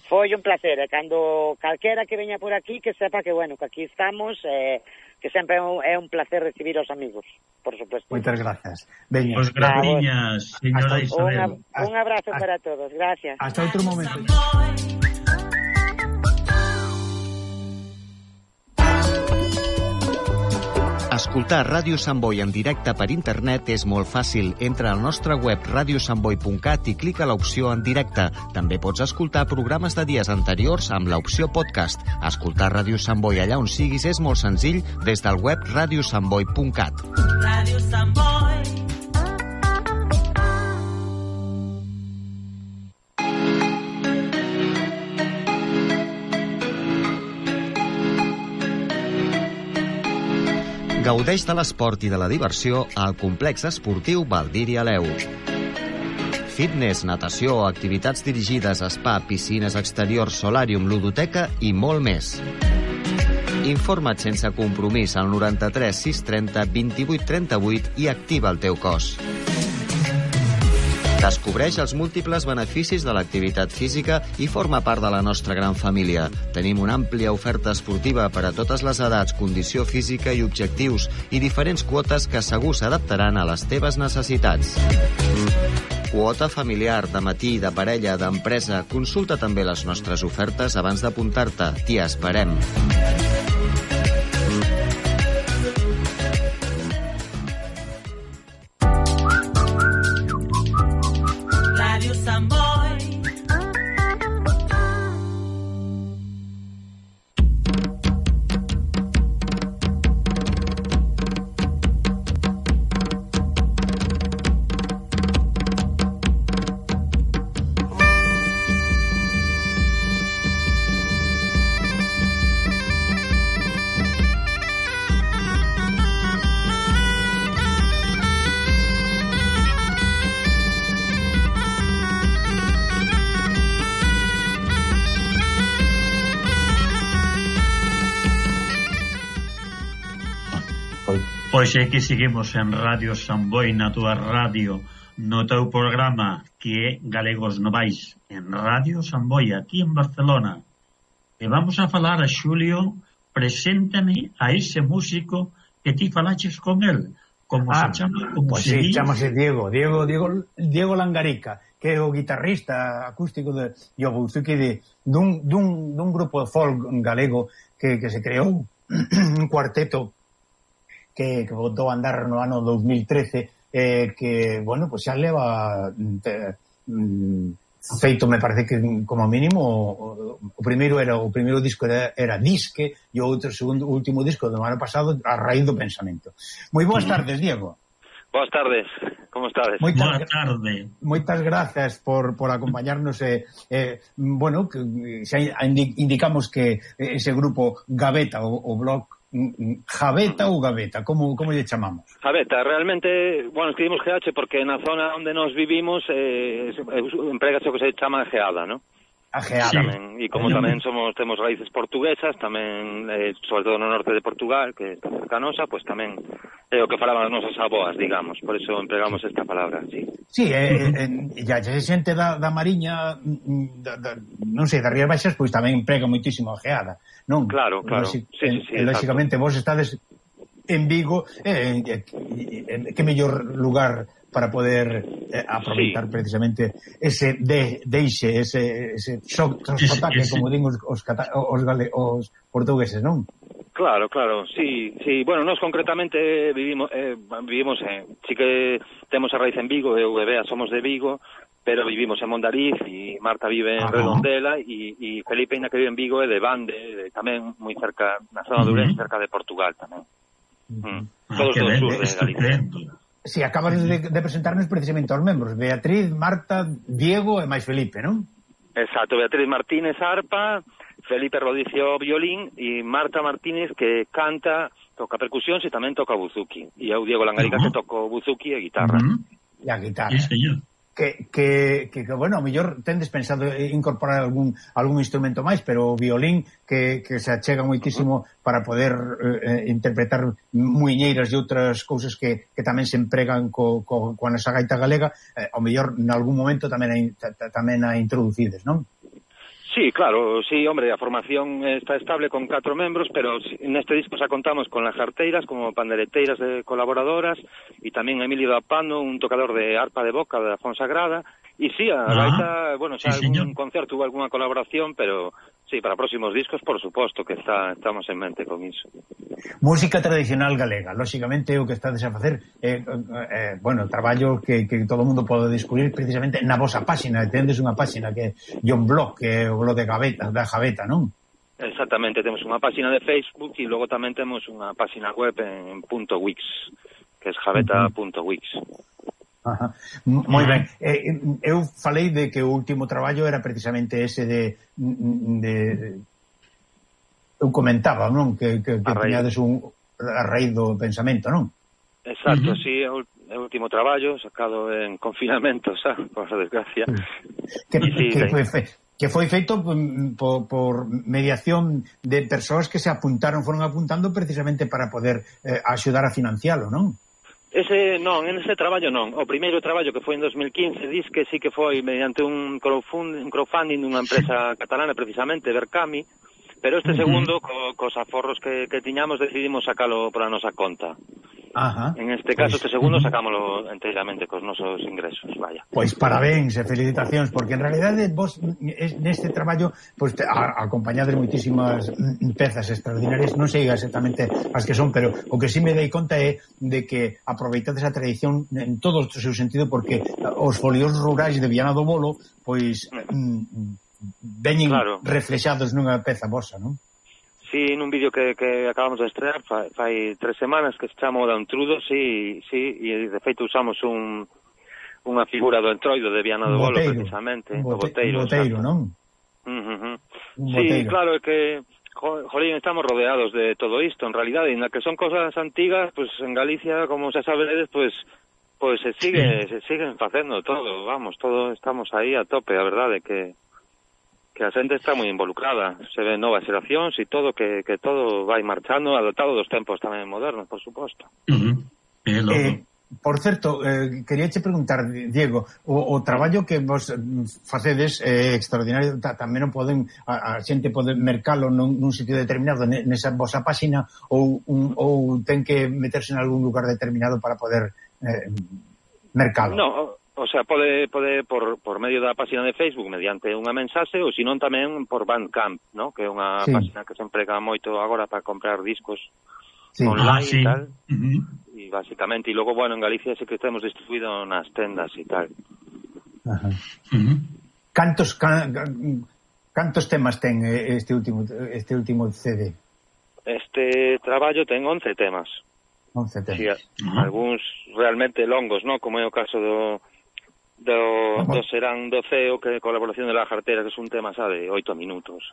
Foi un placer, e cando calquera que veña por aquí, que sepa que, bueno, que aquí estamos, eh, que sempre é un, é un placer recibir aos amigos, por supuesto. Moitas grazas. Veña, Pues graciñas, señora Hasta- Isabel. Unha, un abrazo Hasta- para todos, gracias. hasta outro momento. Escoltar Ràdio Sant Boi en directe per internet és molt fàcil. Entra al nostre web radio sant boi punt cat i clica l'opció en directe. També pots escoltar programes de dies anteriors amb l'opció podcast. Escoltar Ràdio Sant Boi allà on siguis és molt senzill des del web radio sant boi punt cat. Radio Sant Boi. Gaudeix de l'esport i de la diversió al complex esportiu Valdir i Aleu. Fitness, natació, activitats dirigides, spa, piscines exteriors, solàrium, ludoteca i molt més. Informa't sense compromís al noranta-tres sis trenta vint-i-vuit trenta-vuit i activa el teu cos. Descobreix els múltiples beneficis de l'activitat física i forma part de la nostra gran família. Tenim una àmplia oferta esportiva per a totes les edats, condició física i objectius, i diferents quotes que segur s'adaptaran a les teves necessitats. Quota familiar, de matí, de parella, d'empresa. Consulta també les nostres ofertes abans d'apuntar-te. T'hi esperem. Radio Samboy. Pois é que seguimos en Radio Samboy, na túa radio, no teu programa que é Galegos Novais, en Radio Samboy, aquí en Barcelona. E vamos a falar a Xulio, preséntame a ese músico que ti falaches con él. Como ah, se chama? Como pues se sí, di? chamase Diego, Diego, Diego, Diego Langarica, que é o guitarrista acústico de Yobuzuki de dun, dun, dun grupo de folk galego que, que se creou un cuarteto que, que botou a andar no ano dos mil trece, eh, que, bueno, pues xa leva te, mm, feito, me parece que como mínimo o, o primeiro era o primeiro disco era, era Disque e o outro segundo último disco do ano pasado A Raíz do Pensamento. Moi boas tardes, Diego. Boas tardes, como estades? Moitas, Boa tarde. Moitas grazas por, por acompañarnos. Eh, eh, bueno, que, xa indicamos que ese grupo Gaveta, o, o blog Javeta ou Gaveta, como, como lle chamamos? Javeta, realmente, bueno, escribimos G H porque na zona onde nos vivimos eh, empregase o que se chama geada, ¿no? A geada. Tamén, e como tamén somos temos raíces portuguesas, tamén, eh, sobre todo no norte de Portugal, que está cercanosa, pues tamén é o que falaban as nosas aboas, digamos, por eso empregamos esta palabra, sí. Sí, eh, eh, ya se xente da, da Mariña, da, da, non sei, das Rías Baixas, pois tamén emprega moitísimo a geada, non? Claro, claro, Loxi, sí, sí, sí, eh, lóxicamente vos estades en Vigo, eh, eh, eh, que mellor lugar para poder eh, aproveitar sí. precisamente ese de, deixe, ese, ese sotaque, como din os, os, os, gale, os portugueses, non? Claro, claro, sí, sí. Bueno, nós concretamente vivimos, eh, vivimos en, sí que temos a raíz en Vigo, eu e Bea somos de Vigo, pero vivimos en Mondariz e Marta vive en Ajá. Redondela e, e Felipe, ainda que vive en Vigo, é de Bande, de, tamén moi cerca, na zona de Ourense, cerca de Portugal tamén. Mm. Todos ah, do sur de Galicia. Si, sí, acabas de, de presentarnos precisamente aos membros, Beatriz, Marta, Diego e máis Felipe, non? Exacto, Beatriz Martínez arpa, Felipe Rodicio violín e Marta Martínez que canta, toca percusións e tamén toca buzuki. E eu, Diego Langarica, uh -huh. que toco buzuki e guitarra. Uh -huh. E a guitarra. Sí, señor. Que, que, que, que, bueno, a mellor tendes pensado incorporar algún algún instrumento máis, pero o violín que, que se achega moitísimo para poder eh, interpretar muiñeiras e outras cousas que, que tamén se empregan co, co, coa nosa gaita galega, eh, ao mellor nalgún momento tamén a, tamén a introducides, non? Sí, claro, sí, hombre, a formación está estable con catro membros, pero neste disco xa contamos con lajarteiras como pandereteiras de colaboradoras e tamén Emilio da Pano, un tocador de arpa de boca da Fonsagrada, e sí, a gaita, bueno, xa sí, algún señor. Concerto hubo algunha colaboración, pero sí, para próximos discos, por suposto, que está, estamos en mente con iso. Música tradicional galega, lóxicamente o que estades a facer, eh, eh, bueno, traballo que, que todo o mundo pode descubrir precisamente na vosa páxina, tendes unha páxina que é un blog, que é o blog de Gaveta, da Javeta, non? Exactamente, temos unha páxina de Facebook e logo tamén temos unha páxina web en .wix, que é javeta punto wix. Ajá. Moi ben. Eh, eu falei de que o último traballo era precisamente ese de, de eu comentaba, non? Que, que, que teñades un a raíz do pensamento, non? Exacto, uh -huh. sí, é o, é o último traballo sacado en confinamento, xa, por desgracia. Que, sí, que, foi, que foi feito por, por mediación de persoas que se apuntaron, foron apuntando precisamente para poder eh, axudar a financialo, non? Ese non, en ese traballo non. O primeiro traballo que foi en dos mil quince diz que sí que foi mediante un crowdfunding, un crowdfunding dunha empresa catalana precisamente, Berkami, pero este segundo, co, cos aforros que, que tiñamos, decidimos sacalo pola nosa conta. Ajá. En este caso, Pois, este segundo, uh-huh. sacámoslo enteiramente cos nosos ingresos, vaya. Pois parabéns e felicitacións, porque en realidade vos neste traballo pois te, a, acompañades moitísimas pezas extraordinarias, non sei exactamente as que son, pero o que sí me dei conta é de que aproveitades a tradición en todo o seu sentido, porque os folios rurais de Viana do Bolo pois mm, veñen claro. reflexados nunha peza vosa, non? Sí, nun vídeo que, que acabamos de estrear fai, fai tres semanas que se chama o da Entrudo, sí, sí, e de feito usamos un unha figura do entroido de Viana do Bolo, precisamente, un bote, o boteiro, un boteiro, non? Uh -huh. Un sí, boteiro. claro, é que jolín, estamos rodeados de todo isto, en realidade, en la que son cosas antigas, pues en Galicia, como se sabedes, pues pues se sigue, sí. se siguen facendo todo, vamos, todo estamos aí a tope, a verdade que que a xente está moi involucrada, se ven novas xeracións e todo, que, que todo vai marchando, adaptado dos tempos tamén modernos, por suposto. Uh -huh. Eh, por certo, eh, queríache preguntar, Diego, o, o traballo que vos facedes é eh, extraordinario, ta, tamén non poden, a, a xente pode mercalo nun, nun sitio determinado, nesa vosa páxina, ou, un, ou ten que meterse en algún lugar determinado para poder eh, mercalo? No, o sea, pode, pode por, por medio da página de Facebook mediante unha mensaxe ou senón tamén por Bandcamp, ¿no? Que é unha sí. página que se emprega moito agora para comprar discos sí. online ah, sí. e tal. Uh -huh. E basicamente, e logo, bueno, en Galicia sí que temos distribuído nas tendas e tal. Ajá. Uh -huh. Cantos can, cantos temas ten este último este último C D? Este traballo ten once temas. once temas. Sí, uh -huh. Algúns realmente longos, ¿no? Como é o caso do do, do Serán do Ceo, que colaboración de la Jartera, que é un tema, sabe, oito minutos.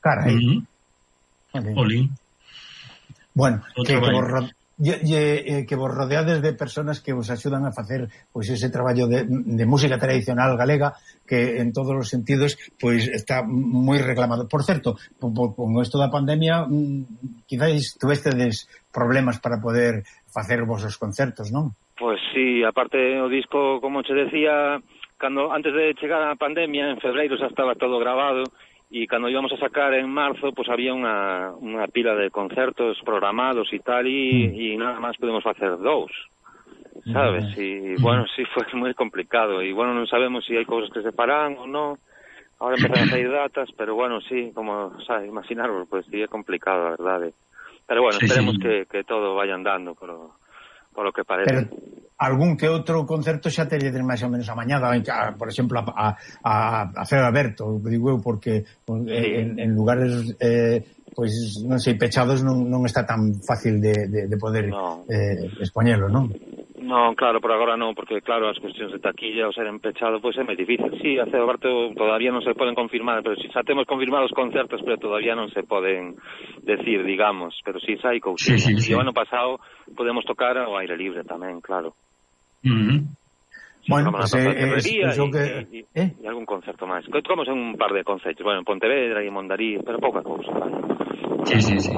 Carai. Uh -huh. Oli. Bueno, que, que, vos, ye, ye, que vos rodeades de personas que vos axudan a facer pois ese traballo de, de música tradicional galega que en todos os sentidos pois está moi reclamado. Por certo, con, con isto da pandemia quizáis tuvestedes problemas para poder facer vosos concertos, non? Pois sí, aparte o disco, como che decía, cando antes de chegar a pandemia, en febreiro xa estaba todo grabado, e cando íbamos a sacar en marzo, pues había unha, unha pila de concertos programados e tal, e, mm. e nada máis podemos facer dous, sabes? E, bueno, sí, foi moi complicado, e, bueno, non sabemos se si hai cousas que se paran ou non, ahora empezan a sair datas, pero, bueno, sí, como, sabes, imaginaros, pues sí, é complicado, a verdade. Pero, bueno, sí, esperemos sí. Que, que todo vaya andando, pero... por lo que parece. Pero algún que outro concerto xa teríades máis ou menos amañado, por exemplo, a, a, a Ceo Aberto, digo eu, porque sí. en, en lugares eh, pois, non sei, pechados non, non está tan fácil de, de, de poder no. eh, expoñelo, non? Non, claro, por agora non, porque claro, as cuestións de taquilla ou ser empechado, pois é moi difícil. Sí, a Ceo Aberto todavía non se poden confirmar, pero si xa temos confirmados concertos, pero todavía non se poden decir, digamos, pero si xa hai cousiñas. Sí, sí, sí. E o ano pasado podemos tocar ao aire libre tamén, claro. Uh -huh. Sí, bueno, pues, eh, es, es e, que... e, ¿Eh? e algún concerto máis. Tocamos en un par de concertos, bueno, en Pontevedra e en Mondarí, pero pouca cousa, vale. Sí, sí, sí.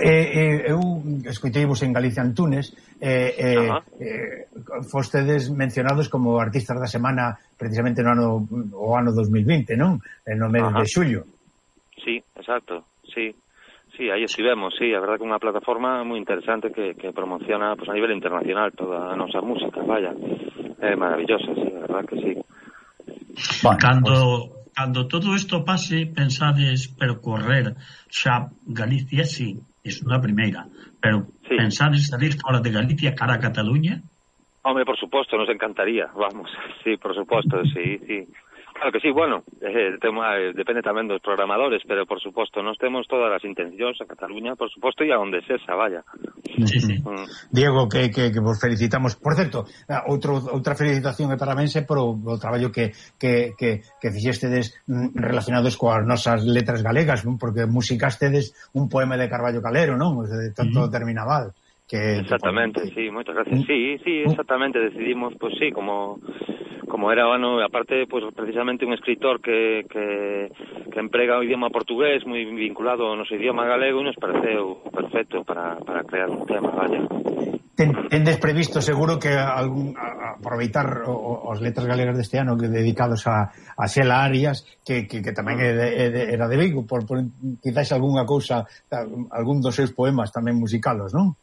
Eh, eh, eu escoiteivos en Galicia Antunes eh, eh, eh, fostedes mencionados como artistas da semana precisamente no ano, o ano dos mil vinte, non? No mes Ajá. de xullo. Sí, exacto, sí. Sí, aí estivemos, sí, a verdade que unha plataforma moi interesante que, que promociona pues, a nivel internacional toda a nosa música, vaya. É maravillosa, sí, a verdade que sí. Bueno, cando, pues... cando todo isto pase, pensades percorrer xa Galicia, sí, é unha primeira, pero sí. Pensades salir fora de Galicia cara a Cataluña? Home, por suposto, nos encantaría, vamos, sí, por suposto, sí, sí. Claro que sí, bueno, eh, tema, eh, depende tamén dos programadores, pero por suposto, nos temos todas as intencións a Cataluña, por suposto, e a onde sesa, vaya. Sí, sí. Mm. Diego, que, que, que vos felicitamos. Por certo, outro, outra felicitación e parabéns por o, o traballo que, que, que, que fixestedes relacionados coas nosas letras galegas, non? Porque musicastedes un poema de Carballo Calero, non? De tanto uh -huh. Terminaval. Que, exactamente, que... sí, moitas gracias. Sí, sí, exactamente, decidimos, pues sí, como... como era, bueno, aparte, pues precisamente un escritor que, que, que emprega o idioma portugués moi vinculado ao noso idioma galego e nos pareceu perfecto para, para crear un tema, vaya. Ten, tendes previsto seguro que algún, a, aproveitar o, os letras galegas deste ano que dedicados a, a Xela Arias que, que, que tamén é de, é de, era de Vigo, por, por quizás algunha cousa, algún dos seus poemas tamén musicalos, non?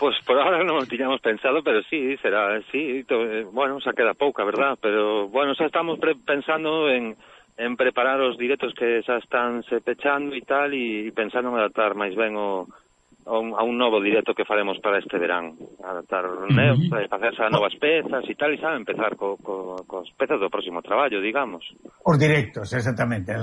Pois por ahora non o tiñamos pensado, pero sí, será, sí, to, eh, bueno, xa queda pouca, verdad, pero, bueno, xa estamos pre pensando en, en preparar os directos que xa están se pechando e tal, e, e pensando en adaptar máis ben o, a, un, a un novo directo que faremos para este verán, adaptar, uh -huh. né, facerse a novas pezas e tal, e xa empezar co, co, cos pezas do próximo traballo, digamos. Os directos, exactamente,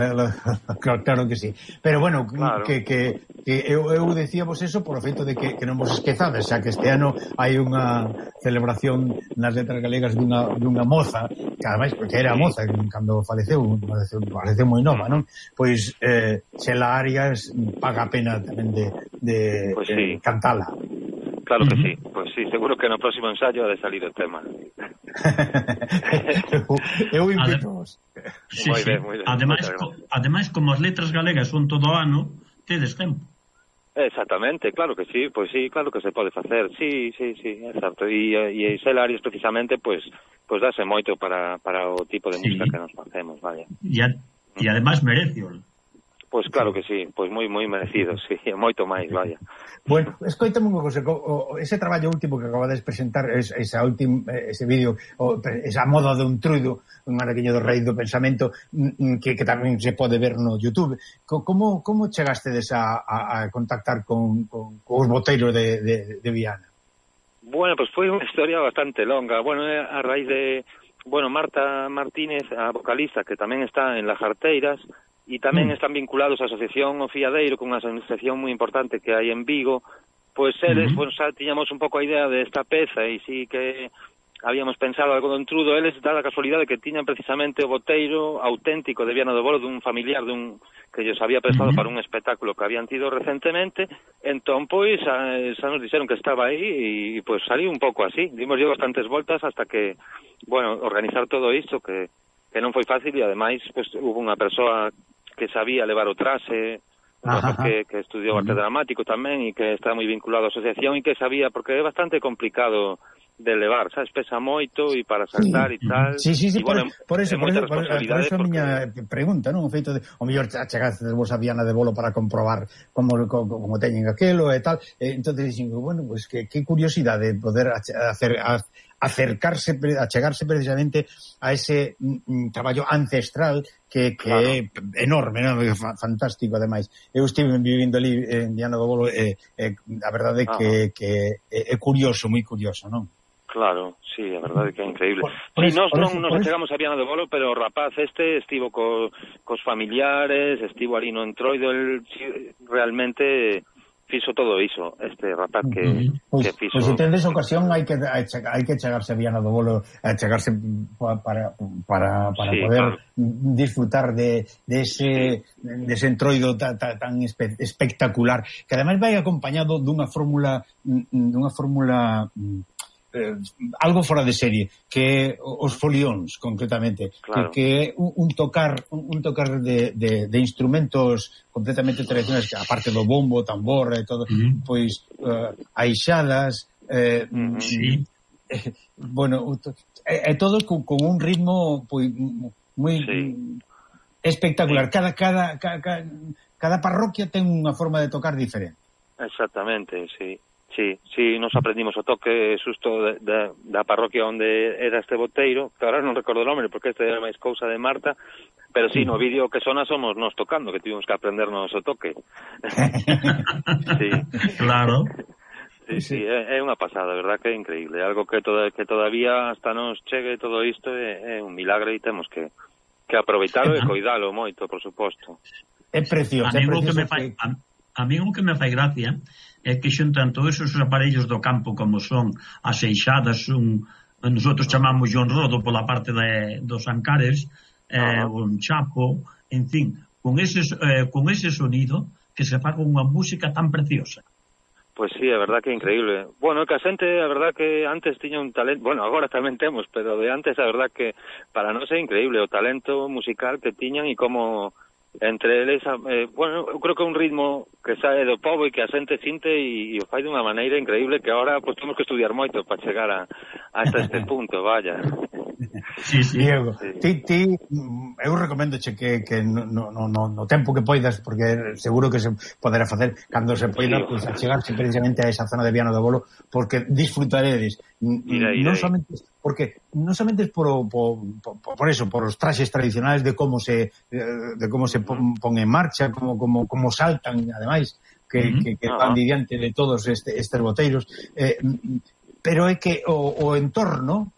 claro que sí. Pero, bueno, claro. que, que, que eu, eu decíamos eso por o feito de que, que non vos esquezades, xa que este ano hai unha celebración nas letras galegas dunha, dunha moza, que ademais, porque era moza cando faleceu, faleceu, faleceu moi nova, non? Pois, eh, Xela Arias paga a pena tamén de, de, pues de sí. cantala. Claro que uh -huh. sí, pois pues sí, seguro que no próximo ensayo ha de salir o tema. Eu invito-os. Sí, sí. Ademais, co, ademais, como as letras galegas son todo ano, tedes tempo. Exactamente, claro que sí, pois pues sí, claro que se pode facer, sí, sí, sí, exacto. E, e Xela Arias precisamente, pois, pues, pues dase moito para, para o tipo de música sí. que nos facemos, vaya. E, a, e ademais merecio. Pois pues claro que sí, pois pues moi moi merecido, sí, moito máis, vaya. Bueno, escoitame unha cosa, ese traballo último que acabades de presentar, ese último ese vídeo, esa moda de un truido, un araqueño do rei do pensamento, que, que tamén se pode ver no YouTube. Como, como chegastes a, a, a contactar con, con, con os boteiros de, de, de Viana? Bueno, pues foi unha historia bastante longa. Bueno, a raíz de, bueno, Marta Martínez, a vocalista, que tamén está en Las Jarteiras, e tamén están vinculados á Asociación O Fiadeiro, con unha asociación moi importante que hai en Vigo, pois eles, uh -huh. pues, xa tiñamos un pouco a idea de esta peza, e sí que habíamos pensado algo do entrudo, eles dá a casualidade que tiñan precisamente o boteiro auténtico de Viana do Bolo, dun familiar dun que lles había prestado uh -huh. para un espectáculo que habían tido recentemente, entón, pois, xa, xa nos dixeron que estaba aí, e, pois, salí un pouco así, dimos yo bastantes voltas hasta que, bueno, organizar todo isto, que, que non foi fácil, e ademais, pois, hubo unha persoa que sabía levar o trase, que, que estudiou arte dramático tamén e que está moi vinculado á asociación e que sabía, porque é bastante complicado de levar, sabes, pesa moito e para saltar e tal. Sí, sí, sí, y, por, bueno, por eso, por eso, por, por eso a miña porque... pregunta, non? O feito de, o mellor achegaste vos a Viana de Bolo para comprobar como, como, como teñen aquelo e tal, e, entón dixen, bueno, pues que, que curiosidade poder hacer, a, acercarse, achegarse precisamente a ese mm, traballo ancestral que, que claro. é enorme, non? Fantástico, ademais. Eu estive vivindo ali en Viana do Bolo e, e a verdade é que, que é, é curioso, moi curioso, non? Claro, sí, a verdade que é increíble. Por sí, nos non nos chegamos a Viana do Bolo, pero o rapaz este estivo co, cos familiares, estivo ali no entroido, el realmente fixo todo iso, este rapaz que, pues, que fixo... Pois pues, se tendes ocasión hai que hai que chegarse a Viana do Bolo, a chegarse para para para sí, poder claro. disfrutar de, de ese de ese entroido tan, tan espe, espectacular, que ademais vai acompañado dunha fórmula dunha fórmula eh, algo fora de serie, que os folións concretamente, claro. que, que é un, un tocar un, un tocar de, de, de instrumentos completamente tradicionais, aparte do bombo, tambor e todo, mm. pois uh, aixadas eh, mm, sí. eh, bueno, e, e todo con, con un ritmo pois moi sí. espectacular. Sí. Cada, cada, cada, cada parroquia ten unha forma de tocar diferente. Exactamente, sí. Sí, sí, nos aprendimos o toque susto de, de, da parroquia onde era este boteiro, que ahora non recordo o nome porque este era máis cousa de Marta, pero sí, no vídeo que sona somos nos tocando, que tivemos que aprendernos o toque. Sí. Claro. Sí, sí, é, é unha pasada, verdad que é increíble, algo que toda, que todavía hasta nos chegue todo isto é, é un milagre e temos que, que aproveitalo e coidalo moito, por suposto. É precioso, é precioso. Que me fai, a, a mí o que me fai gracia é que xuntan todos esos aparellos do campo como son as eixadas, un, nosotros chamamos un rodo pola parte de, dos ancares, eh, uh -huh. un chapo, en fin, con ese, eh, con ese sonido que se faga unha música tan preciosa. Pois sí, a verdad que é increíble. Bueno, que a xente, a verdad que antes tiña un talento, bueno, agora tamén temos, pero de antes a verdad que para nós é increíble o talento musical que tiñan e como entre eles, eh, bueno, eu creo que é un ritmo que sae do pobo e que a xente sinte e, e o fai dunha maneira increíble que agora pues, temos que estudiar moito para chegar a, hasta este punto, vaya. Sí, sí. Diego, sí. ti, ti, eu recomendoche que, que no, no, no, no tempo que poidas, porque seguro que se poderá facer cando se poida, sí, pues, a chegarse precisamente a esa zona de Viana do Bolo, porque disfrutaredes, mira, non somente porque non somente por, por, por, por eso, por os traxes tradicionales de como se de como se pon, pon en marcha, como, como, como saltan, ademais, que, uh-huh. que, que van diante de todos este, estes boteiros, eh, pero é que o, o entorno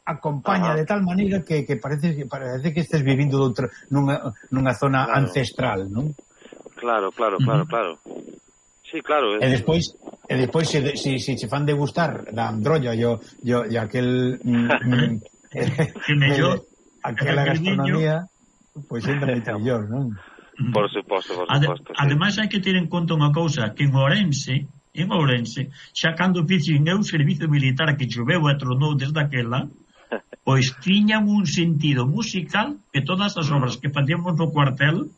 acompaña uh-huh. de tal maneira que, que parece que parece que estés vivindo doutra, nunha, nunha zona claro. ancestral, non? Claro, claro, claro, uh-huh. claro. Sí, claro. E despois, e despois se, se, se che fan degustar da androlla yo, yo, e aquel mm, que mellor aquela gastronomía, pois pues, entra moito mellor, non? Por suposto, por suposto. Ade, sí. Ademais hai que ter en conta unha cousa, que en Ourense, en Ourense, xa cando fixen eu servizo militar que choveu e tronou desde aquela, pois tiñan un sentido musical que todas as obras que facíamos no cuartel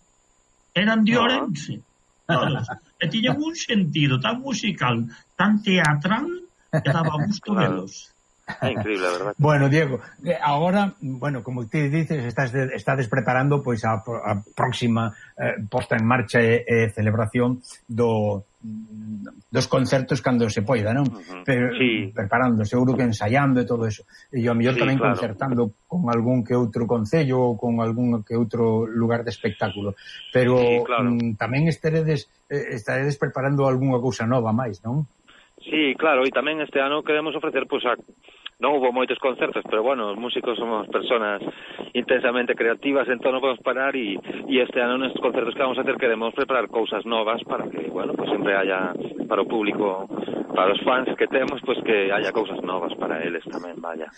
eran de Ourense. Todos. E tiñan un sentido tan musical, tan teatral, que daba gusto claro. velos. É increíble, verdad? Bueno, Diego, agora, bueno, como ti dices, estás de, estás preparando pois a, a próxima eh, posta en marcha e, e celebración do dos concertos cando se poida, non? Uh-huh. Pero, sí. Preparando, seguro que ensaiando e todo eso. E ao mellor sí, tamén claro. concertando con algún que outro concello ou con algún que outro lugar de espectáculo. Pero sí, claro. mm, tamén estaredes, eh, estaredes preparando algunha cousa nova máis, non? Sí, claro, e tamén este ano queremos ofrecer, pois, a... non hubo moitos concertos, pero bueno, os músicos somos personas intensamente creativas, entón non podemos parar e, e este ano nestes concertos que vamos a hacer queremos preparar cousas novas para que, bueno, pues sempre haya para o público, para os fans que temos, pues que haya cousas novas para eles tamén, vaya.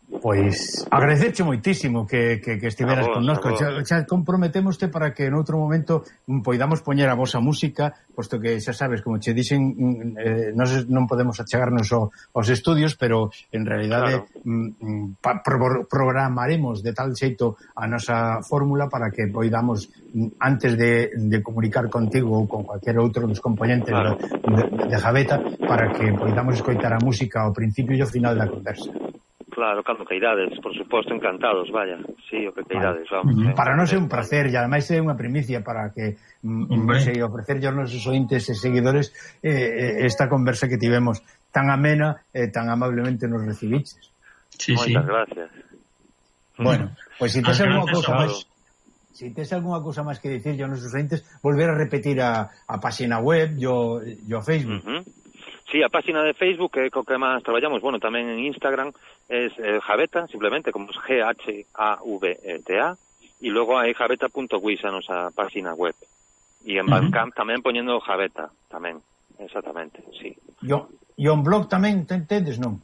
Pois agradecerche moitísimo que, que, que estiveras con nós, xa, xa comprometémoste para que en outro momento poidamos poñer a vosa música, posto que xa sabes, como che dixen, eh, nos non podemos achegarnos ao, aos estudios, pero en realidade claro. mm, pa, pro, programaremos de tal xeito a nosa fórmula para que poidamos, antes de, de comunicar contigo ou con cualquier outro dos componentes claro. de, de, de Javeta, para que poidamos escoitar a música ao principio e ao final da conversa. Claro, cando queirades, por suposto, encantados, vaya. Sí, o que queirades, vamos. Vale. Para nós é un placer, e ademais é unha primicia para que mm, se ofrecer aos nosos ointes e seguidores eh, esta conversa que tivemos tan amena e eh, tan amablemente nos recibiches. Sí, Moitas sí. gracias. Bueno, pois pues, se tes algunha cousa máis, se tes algunha cousa máis que dicir aos nosos ointes, volver a repetir a, a página web e o Facebook. Uh -huh. Sí, a página de Facebook é co que máis traballamos, bueno, tamén en Instagram es eh, Javeta, simplemente como es G H A V E T A, e logo hai javeta punto wis a nosa página web. E en Bandcamp uh-huh. tamén poñendo Javeta, tamén, exactamente, sí. E o un blog tamén tendes, non?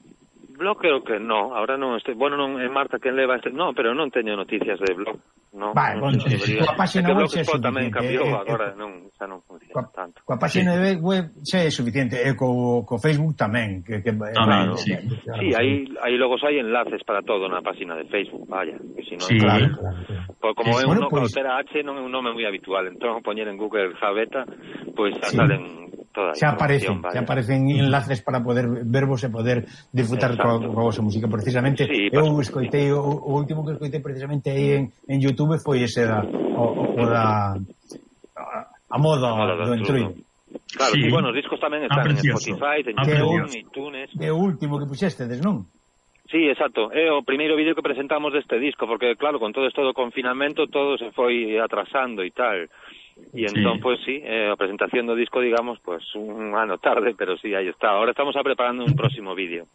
Blog creo que no, ahora non estou, bueno, non é Marta quen leva este, no, pero non teño noticias de blog. No, vale, non bueno, a página web xa é tamén cambiou, eh, agora eh, non, xa non funciona coa, tanto. Coa página sí. web xa é suficiente, e co, co Facebook tamén, que, que claro, eh, sí, eh, sí aí, aí logo hai enlaces para todo na página de Facebook, vaya, que si non, sí, claro, claro, claro. Por, como é bueno, un pues, Cautera H non é un nome moi habitual, entón poñer en Google Javeta, pois pues, sí. salen toda a xa aparecen, xa aparecen enlaces para poder vervos e poder disfrutar coa, coa vosa música. Precisamente, sí, eu escoitei, o, o último que escoitei precisamente aí en, en YouTube foi ese da, o, o da a, a moda, a moda do entruido. Claro, sí. E bueno, os discos tamén están en Spotify, en YouTube, en iTunes. É o último que puxestedes, non? Sí, exacto. É o primeiro vídeo que presentamos deste disco, porque claro, con todo isto do confinamento todo se foi atrasando e tal. E entón, sí. pues sí, eh, a presentación do disco, digamos, pues un ano tarde, pero sí, aí está. Ahora estamos preparando un próximo vídeo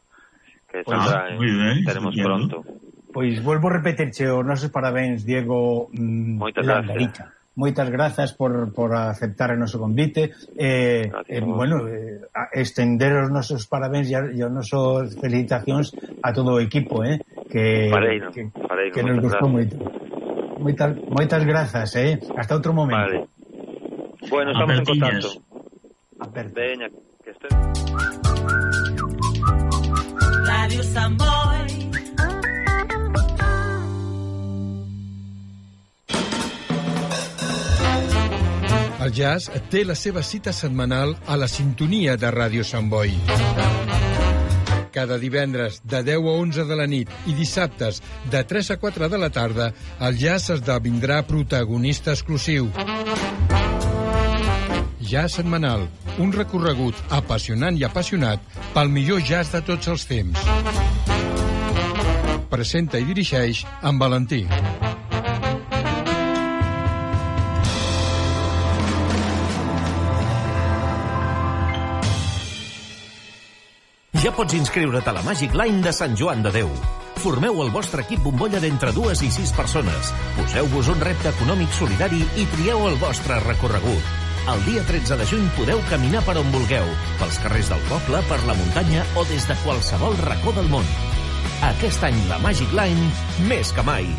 que pues, saldrá, ah, eh, teremos pronto. Pois pues, volvo a repetirche os nosos parabéns, Diego mm, Moitas gracias. Moitas grazas por, por aceptar o noso convite eh, eh, bueno, eh, estender os nosos parabéns e os nosos felicitacións a todo o equipo eh, que, pareino, que, pareino, que nos gustou moito. Moitas, moitas grazas, eh? Hasta outro momento. Vale. Bueno, estamos en contacto. Veña, que estés. Radio Samboy. El jazz té la seva cita setmanal a la sintonia de Ràdio Sant Boi. cada divendres de deu a onze de la nit i dissabtes de tres a quatre de la tarda, el jazz esdevindrà protagonista exclusiu. Jazz setmanal, un recorregut apassionant i apassionat pel millor jazz de tots els temps. Presenta i dirigeix en Valentí. Ja pots inscriure't a la Magic Line de Sant Joan de Déu. Formeu el vostre equip bombolla d'entre dues i sis persones. Poseu-vos un repte econòmic solidari i trieu el vostre recorregut. El dia tretze de juny podeu caminar per on vulgueu, pels carrers del poble, per la muntanya o des de qualsevol racó del món. Aquest any la Magic Line, més que mai.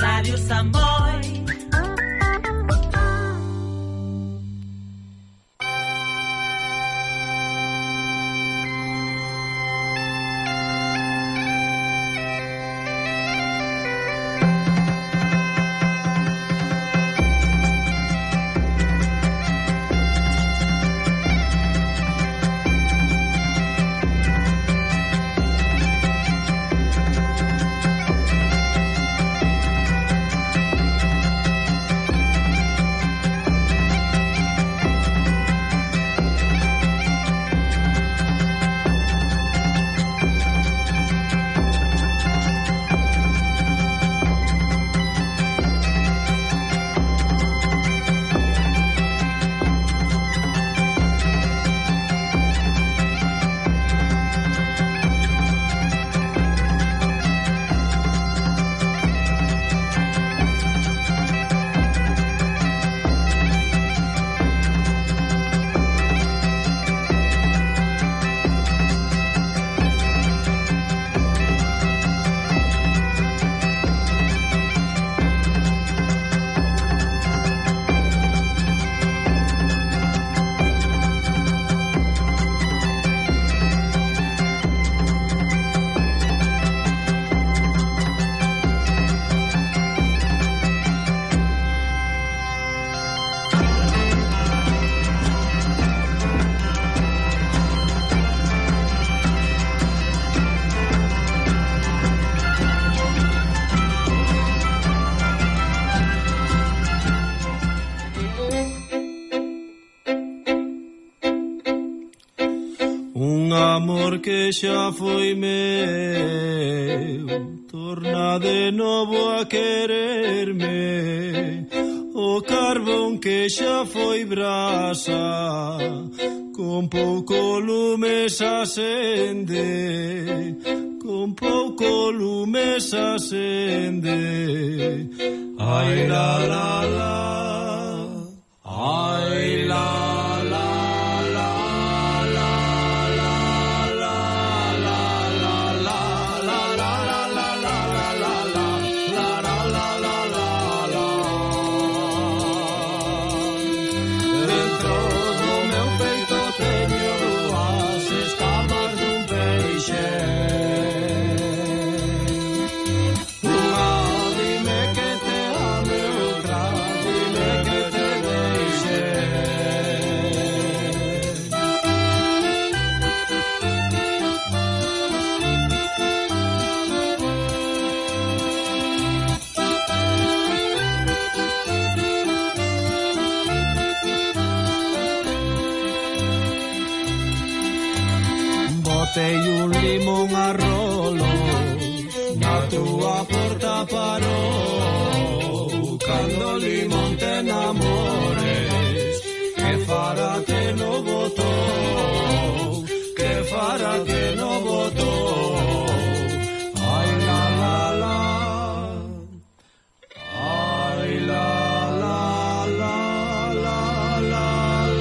Ràdio Sant Boi. Que xa foi meu, torna de novo a quererme. O carbón que xa foi brasa, con pouco lume se acende, con pouco lume se acende. Ai la la la, ai la. Botei un limón a rolo, na túa porta parou. Cando o limón te enamores, que fará que no botou, que fará que no botou. Ai la la la, ai la la la la la la.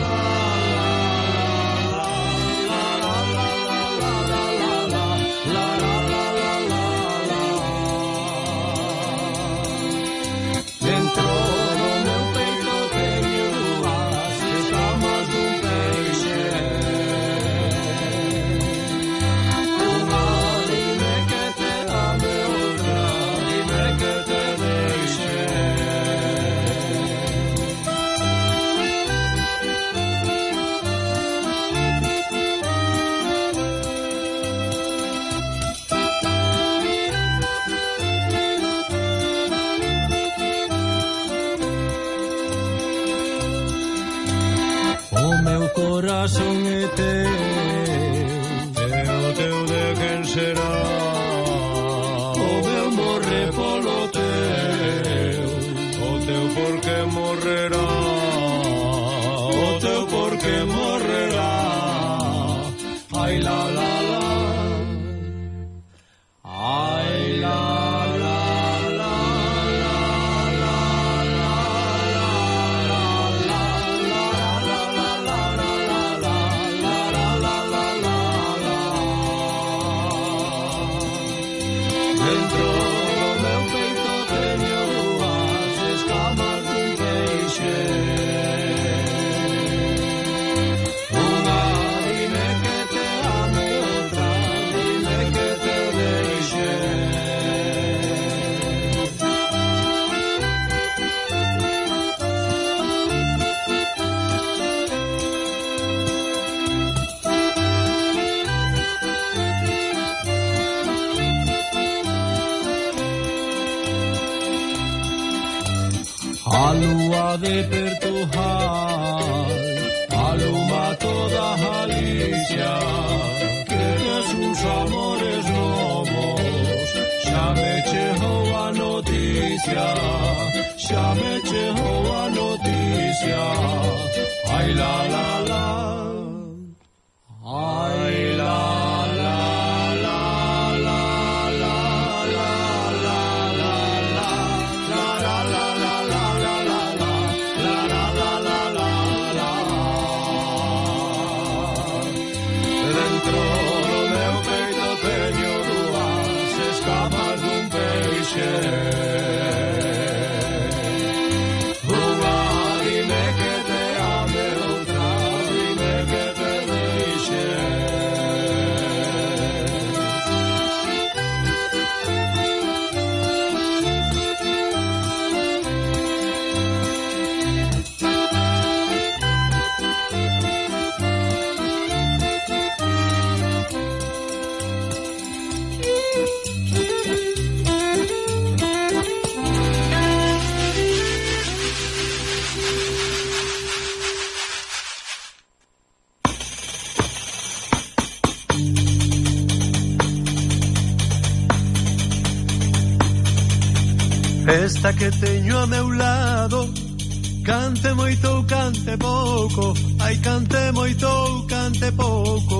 corazón é teu, e o teu de quen será? O meu morre polo teu, o teu porque morrerá, o teu porque morrerá. Ai la la la, ai la la. A lúa de Portugal aluma toda Galicia, que sus amores novos xa me chegou a noticia, xa me chegou a noticia. Ai la la la, ai la la. Esta que teño a meu lado, cante moito ou cante pouco, ai cante moito ou cante pouco.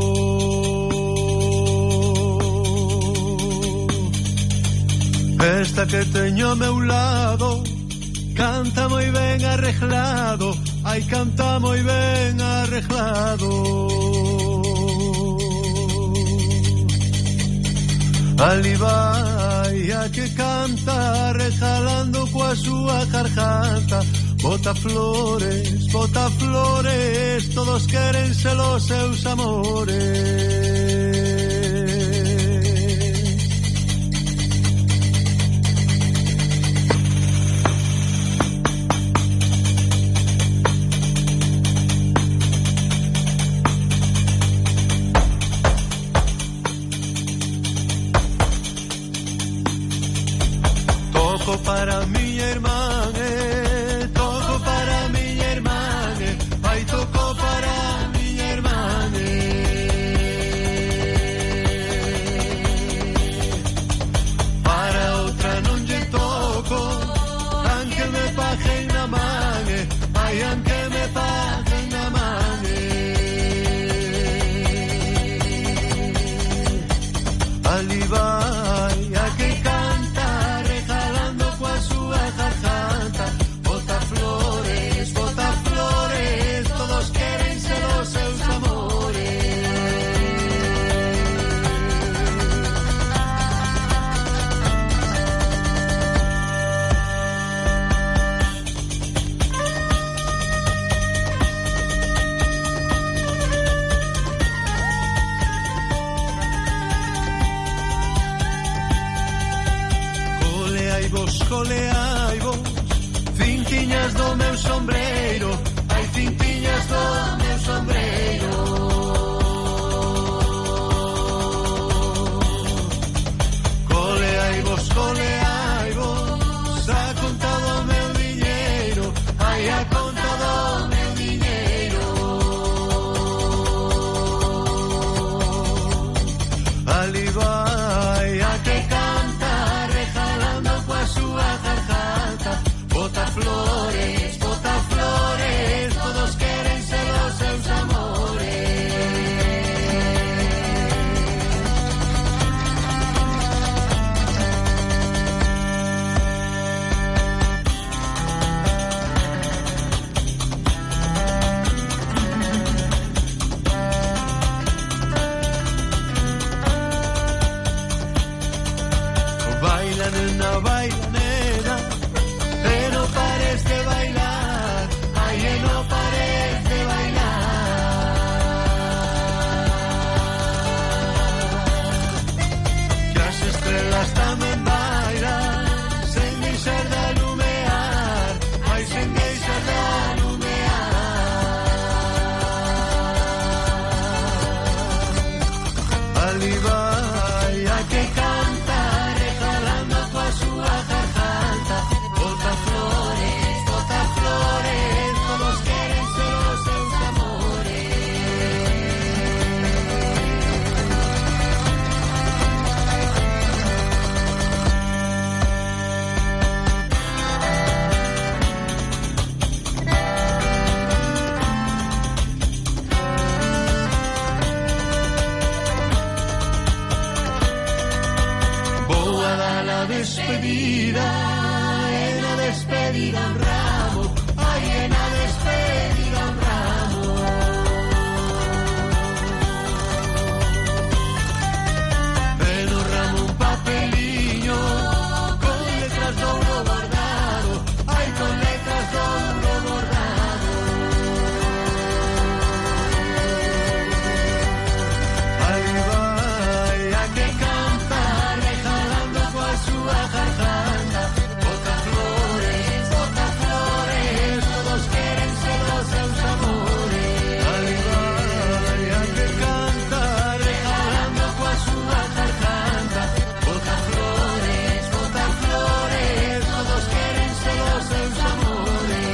Esta que teño a meu lado, canta moi ben arreglado, ai canta moi ben arreglado. Ali vai a que canta regalando coa súa garganta, bota flores, bota flores, todos queren ser os seus amores. Toco para miña irmán, eh, toco para miña irmán, eh, ai toco para miña irmán, eh. Para outra non lle toco, aunque me paguen na man, eh, ai aunque me paguen na man, eh. Ali vai a que canta regalando coa súa garganta, bota flores, bota flores, todos queren ser os seus amores. despedida, e na despedida un ramo, ai, e na despedida un ramo. E no ramo un papeliño con letras de ouro bordado, ai, con letras de ouro bordado. Ali vai a que canta, regalando coa súa garganta, bota flores, bota flores, todos queren ser os seus amores. Ali vai a que canta, regalando coa súa garganta, bota flores, bota flores, todos queren ser os seus amores.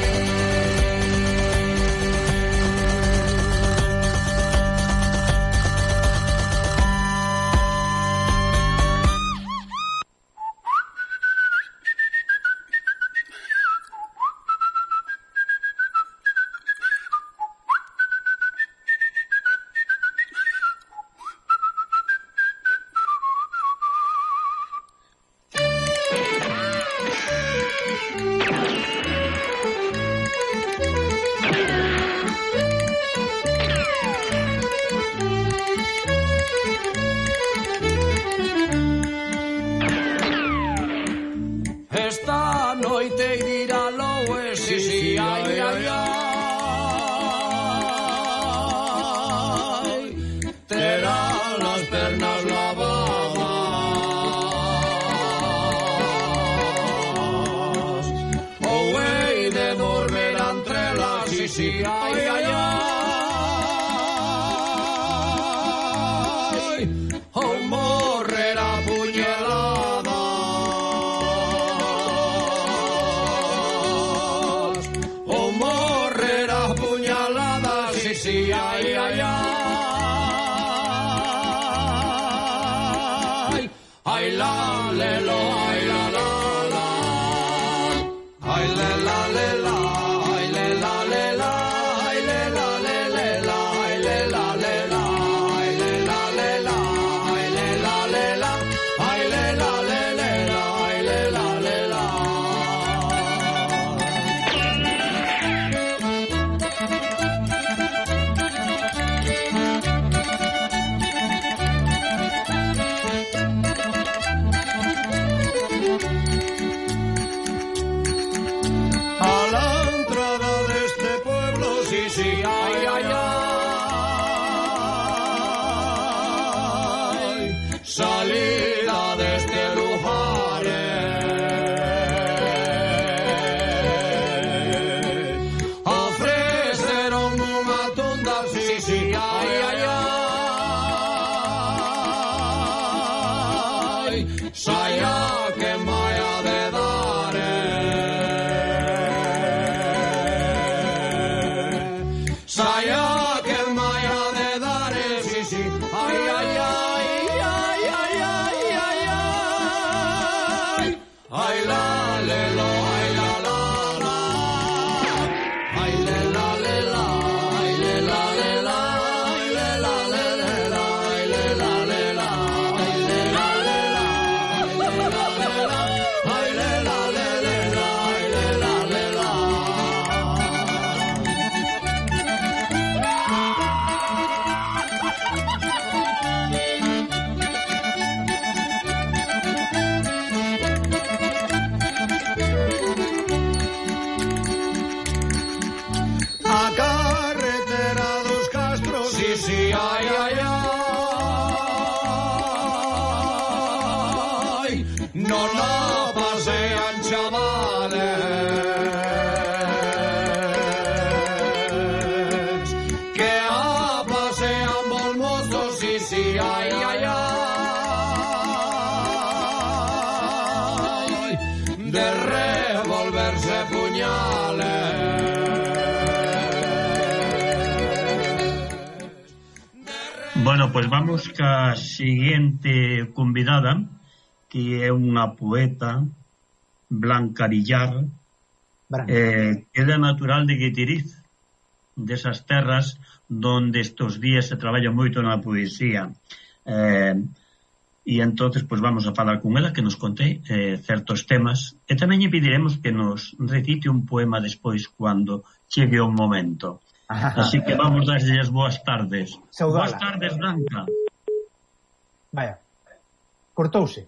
Esta noite irá loe, si, si, ai, ai, ai. Terá las pernas lavadas, ou hei de dormir entre las, si, si, ai, ai, ai. Ou morrer a puñaladas, ou morrer a puñaladas, si, si, ai, ai, ai. Ai, la, le, lo, ai, la, la, la. Ai, le, la, le, la, ai, le, la, le, la, ai, le, la, le, le, la, ai, le, la, le, la, ai, le, la, le, la, ai, le, la, le, la, ai, le, la, le, le, la, ai, le, la, le, la. A la entrada de este pueblo, sí, sí, ay, ay, ay. Salida de este lugar, ofreceron unha tunda, sí, sí, ay, ay, ay. Saia que maia de dar, saia que maia de dar, sí, sí, ay, ay, ay, ay, ay, ay, ay, ay. Ay, la, le, lo, ay, la, la, la. Ay, le, la, le, la, ay, le, la, le, la, ay, le, la, le, le, la, ay, le, la, le, la, ay, le, la, le, la, ay, le, la, le, la, ay, le, la, le, le, la, ay, le, la, le, la. A carretera dos Castros, sí, sí, ay, ay, ay. No la pasean chavales, que a pasean volmozos, sí, sí, ay, ay, ay. De revolverse puñales. Bueno, pues vamos ca siguiente convidada, que é unha poeta, Blanca Villar, eh, que é natural de Guitiriz, desas terras donde estos días se traballa moito na poesía. Eh, e entonces pois vamos a falar con ela que nos conte eh, certos temas e tamén lle pediremos que nos recite un poema despois cando chegue o momento. Así que vamos darlle as boas tardes. Saudala. Boas tardes, Blanca. Vaya, cortouse.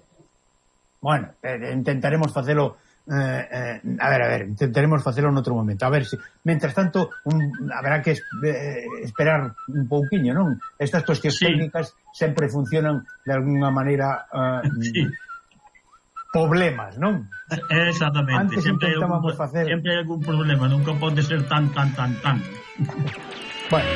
Bueno, eh, intentaremos facelo eh, eh, a ver, a ver, intentaremos facelo en outro momento. A ver se, si, mentras tanto, un, haberá que eh, esperar un pouquiño, non? Estas cuestións sí. técnicas sempre funcionan de alguna maneira eh, sí. problemas, non? Exactamente. Antes sempre intentábamos algún, facer... Sempre hai algún problema, nunca pode ser tan, tan, tan, tan. Bueno.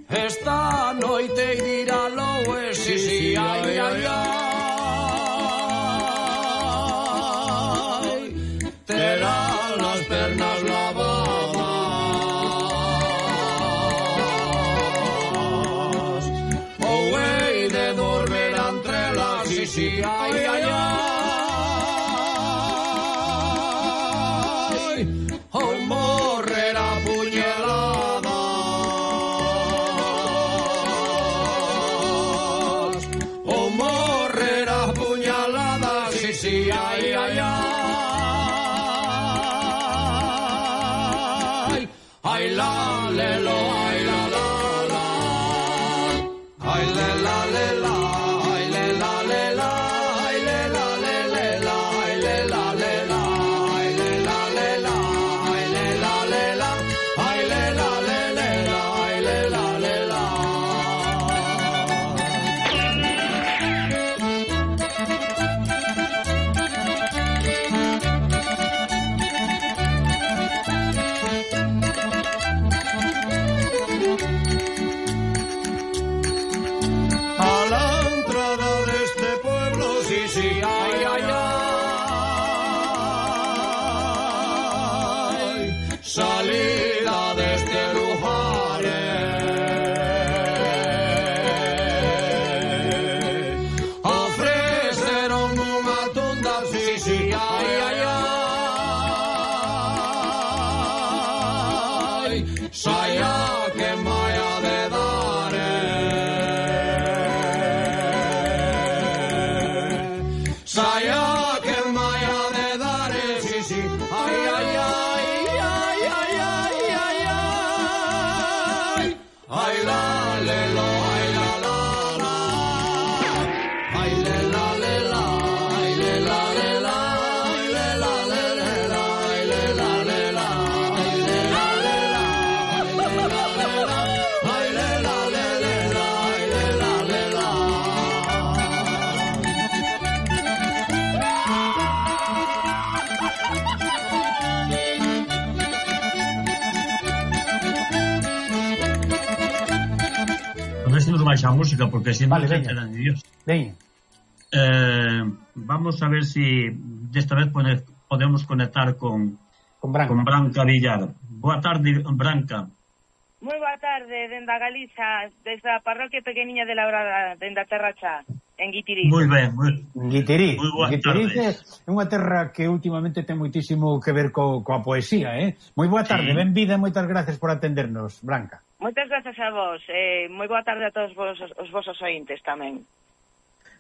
Esta noite dirá lo es, sí, sí, ay, ay, ay. Terá las pernas lavadas. Oh, hey, de dormir entre las, sí, sí, ay, ay, ay. Oh, morrerá puñalada. Sí, ay, ay, ay, ay, la, le, lo, ay, la, la, la, ay, le, la, le, la, ay, le, la, le, la, ay, le, la, le, le, la, ay, le, la, le, la, ay, le, la, le, la, ay, le, la, le, la, ay, le, la, le, le, la, ay, le, la, le, la. Salida desde lugares ofreceron unha tunda, sí, sí, ay, ay, ay, saia que maya de dar, saia que maya de dar, sí, sí, ay, ay, ay. Ay, la, le, lo, ay, la, la, la. Ay, le, la, le, la. Ay, le, la, le, la. Ay, le, la, le, le, la. Ay, le, la, le, la. Ay, le, la, le, la. Ay, le, la, le, la. Ay, le, la, le, la. A ver si nos baixa a música, porque si vale, no se enteran de Dios. Venga. Eh, vamos a ver si desta vez pone, podemos conectar con, con, Branca. con Branca Villar. Boa tarde, Branca. Moi boa tarde, dende a Galiza, desde a parroquia pequeniña de Labrada, dende a Terra Chá, en Guitiriz. Moi ben, moi Guitiriz. Moi boa Guitiriz tarde. É unha terra que últimamente ten moitísimo que ver co, coa poesía, eh? Moi boa tarde, Sí. benvida e moitas gracias por atendernos, Branca. Moitas grazas a vos, eh, moi boa tarde a todos vos, os vosos ointes tamén.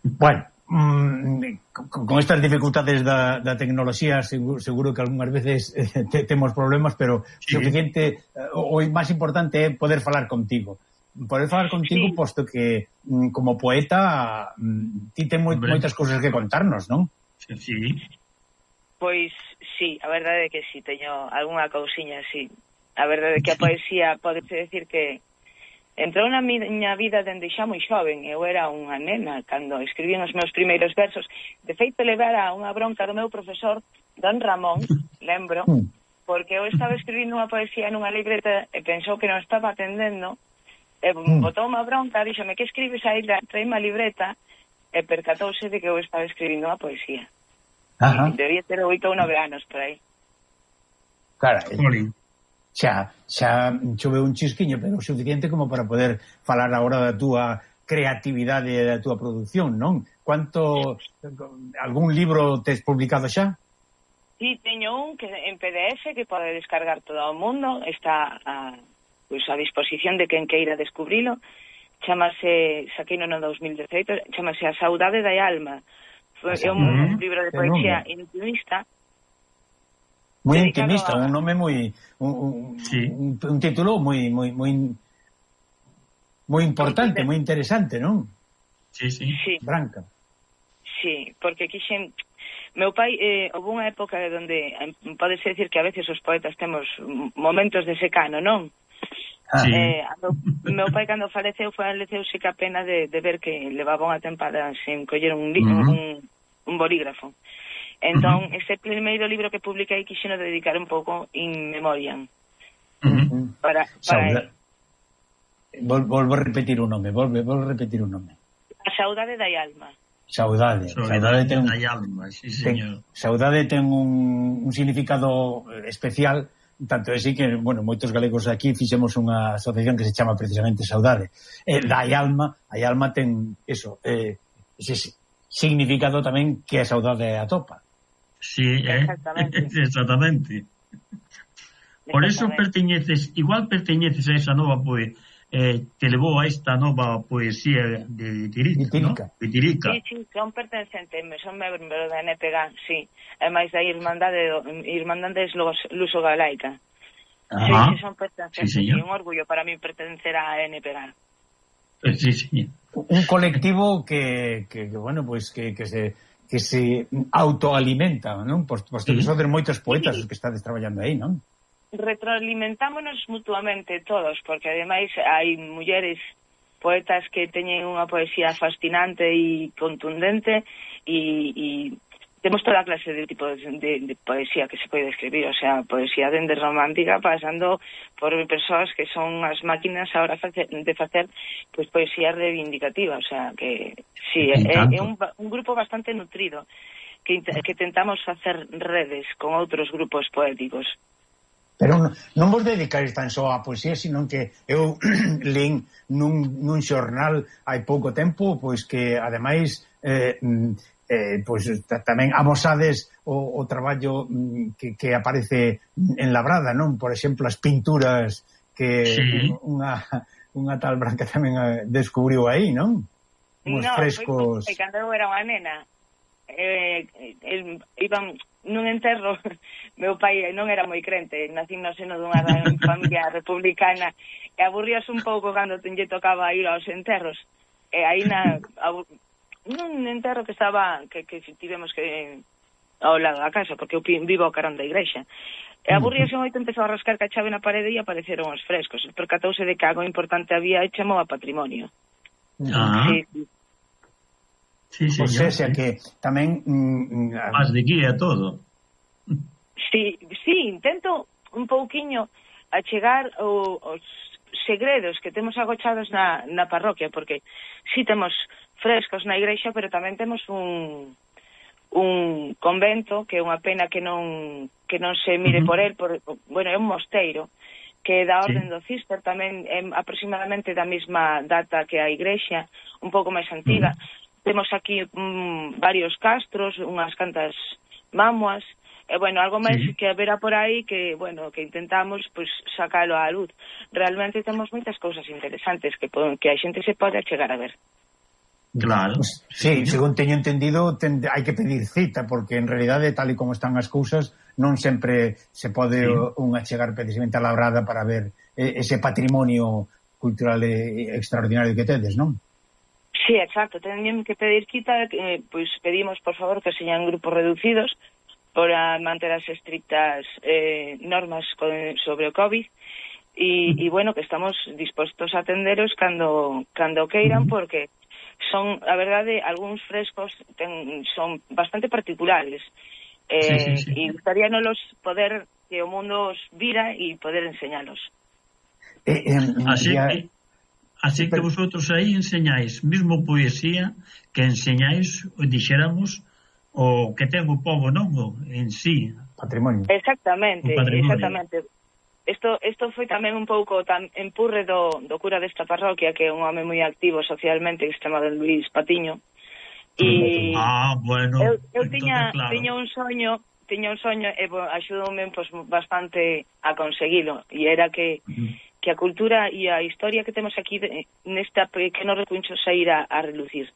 Bueno, mmm, con, con estas dificultades da, da tecnoloxía seguro, seguro que algunhas veces eh, te, temos problemas, pero sí. Suficiente, eh, o, o máis importante é poder falar contigo. Poder falar contigo, sí. Posto que mm, como poeta mm, ti ten moi, moitas cousas que contarnos, non? Sí. Pois sí, a verdade é que sí, teño algunha cousiña, sí. A verdade é que a poesía podese decir que entrou na miña vida dende xa moi xoven. Eu era unha nena cando escribín os meus primeiros versos. De feito, levara unha bronca do meu profesor, don Ramón, lembro, porque eu estaba escribindo unha poesía nunha libreta e pensou que non estaba atendendo, e botou unha bronca, díxome que escribes aí, traíme a libreta, e percatouse de que eu estaba escribindo unha poesía. Ajá. Debía ter oito ou nove anos por aí. Cara, xa, xa choveu un chisquiño, pero o suficiente como para poder falar agora da túa creatividade da túa produción, non? Cuánto algún libro tes publicado xa? Sí, teño un que en P D F que pode descargar todo o mundo, está a, pues, a disposición de quen queira descubrilo. Chamase, saqueino no dos mil dezaoito, chamase A Saudade da Alma. Foi é un, un libro de poesía intimista. Moi intimista, a... un nome moi un, un, sí. un, un título moi moi moi moi importante, moi interesante, non? Sí, sí. sí. Branca. Sí, porque quixen meu pai, eh, houve unha época onde eh, podese decir que a veces os poetas temos momentos de secano, non? Ah, sí. eh, meu, meu pai cando faleceu faleceuse que a pena de, de ver que levaba unha tempada sin coller un, li, uh -huh. un, un bolígrafo. Entón, uh -huh. ese primeiro libro que publiquei quixeno dedicar un pouco in memoriam. Uh -huh. Para, para Vol, volvo a repetir un nome, volve, volvo a repetir un nome. A Saudade da Alma. Saudade. Saudade ten, alma, sí, señor. Ten, saudade ten un, un significado especial. Tanto é así que, bueno, moitos galegos aquí fixemos unha asociación que se chama precisamente Saudade. Eh, da alma, a alma ten eso, eh, ese significado tamén que a saudade atopa. Sí, eh? Exactamente. Exactamente. Por eso perteñeces, igual perteñeces a esa nova, pois, eh, te levou a esta nova poesía de Vitirica, ¿no? Vitirica. Sí, sí, son pertencentes, son membros da N P G A, sí. É máis da Irmandade, Irmandades Luso Galaica. Sí, sí, son pertencentes. Sí, un orgullo para mí pertencer a N P G A. Sí, sí. Un colectivo que, que, que bueno, pues que, que se que se autoalimenta, non? Posto pues, que sí. Son moitos poetas os que estades traballando aí, non? Retroalimentámonos mutuamente todos, porque ademais hai mulleres poetas que teñen unha poesía fascinante e contundente e, e temos toda clase de tipo de, de, de poesía que se pode escribir, o sea, poesía dende romántica pasando por persoas que son as máquinas ahora de facer pues, poesía reivindicativa, o sea, que sí, é, é un, un grupo bastante nutrido que, que tentamos facer redes con outros grupos poéticos. Pero non, non vos dedicáis tan só a poesía, sino que eu lín nun, nun xornal hai pouco tempo, pois que ademais eh, eh, pois tamén amosades o, o traballo que, que aparece en Labrada, non? Por exemplo, as pinturas que sí. unha, unha tal Branca tamén descubriu aí, non? Uns no, frescos... foi cando eu era unha nena. Eh, el, iban nun enterro, meu pai non era moi crente, nací no seno dunha familia republicana e aburríase un pouco cando lle tocaba ir aos enterros. E aí na nun enterro que estaba que, que tivemos que ao lado da casa, porque eu vivo ao carón da igrexa. E aburríase moito, empezou a rascar ca chave na parede e apareceron os frescos. Percatouse de que algo importante había e chamou a patrimonio. Ah. Sí, sí. Sí, señor, o sea, sí. Que tamén mm, más de guía todo. Sí, sí, intento un pouquiño achegar o, os segredos que temos agochados na, na parroquia, porque sí temos frescos na igrexa, pero tamén temos un un convento que é unha pena que non que non se mire uh -huh. por el, por, bueno, é un mosteiro que é da orden sí. do Cister, tamén é aproximadamente da mesma data que a igrexa, un pouco máis antiga. Uh -huh. Temos aquí um, varios castros, unhas cantas mamuas, e, bueno, algo máis sí. que haberá por aí que, bueno, que intentamos, pues, sacalo á luz. Realmente temos moitas cousas interesantes que, que a xente se pode achegar a ver. Claro. Pues, sí, según teño entendido, ten, hai que pedir cita, porque en realidade, tal e como están as cousas, non sempre se pode sí. un achegar precisamente a Labrada para ver ese patrimonio cultural extraordinario que tedes, non? Sí, exacto, teñen que pedir cita, eh, pois pedimos, por favor, que señan grupos reducidos para manter as estrictas eh, normas con, sobre o COVID e, e, bueno, que estamos dispostos a atenderos cando, cando queiran, porque son, a verdade, algúns frescos ten, son bastante particulares eh, sí, sí, sí. e gustaríanos poder que o mundo os vira e poder enseñalos. Eh, eh, Así ya... que Así que vosotros aí enseñáis mesmo poesía que enseñáis, dixéramos, o que ten o povo, non? En sí. Patrimonio. Exactamente, patrimonio. exactamente. Isto, isto foi tamén un pouco tan empurre do, do cura desta parroquia, que é un home moi activo socialmente, que se chama Luís Patiño. E ah, bueno, eu, eu tiña, claro. tiña un soño, tiña un soño e axudoume pues, bastante a conseguilo, e era que, uh-huh. que a cultura e a historia que temos aquí de, nesta pequeno recuncho saíra a relucir.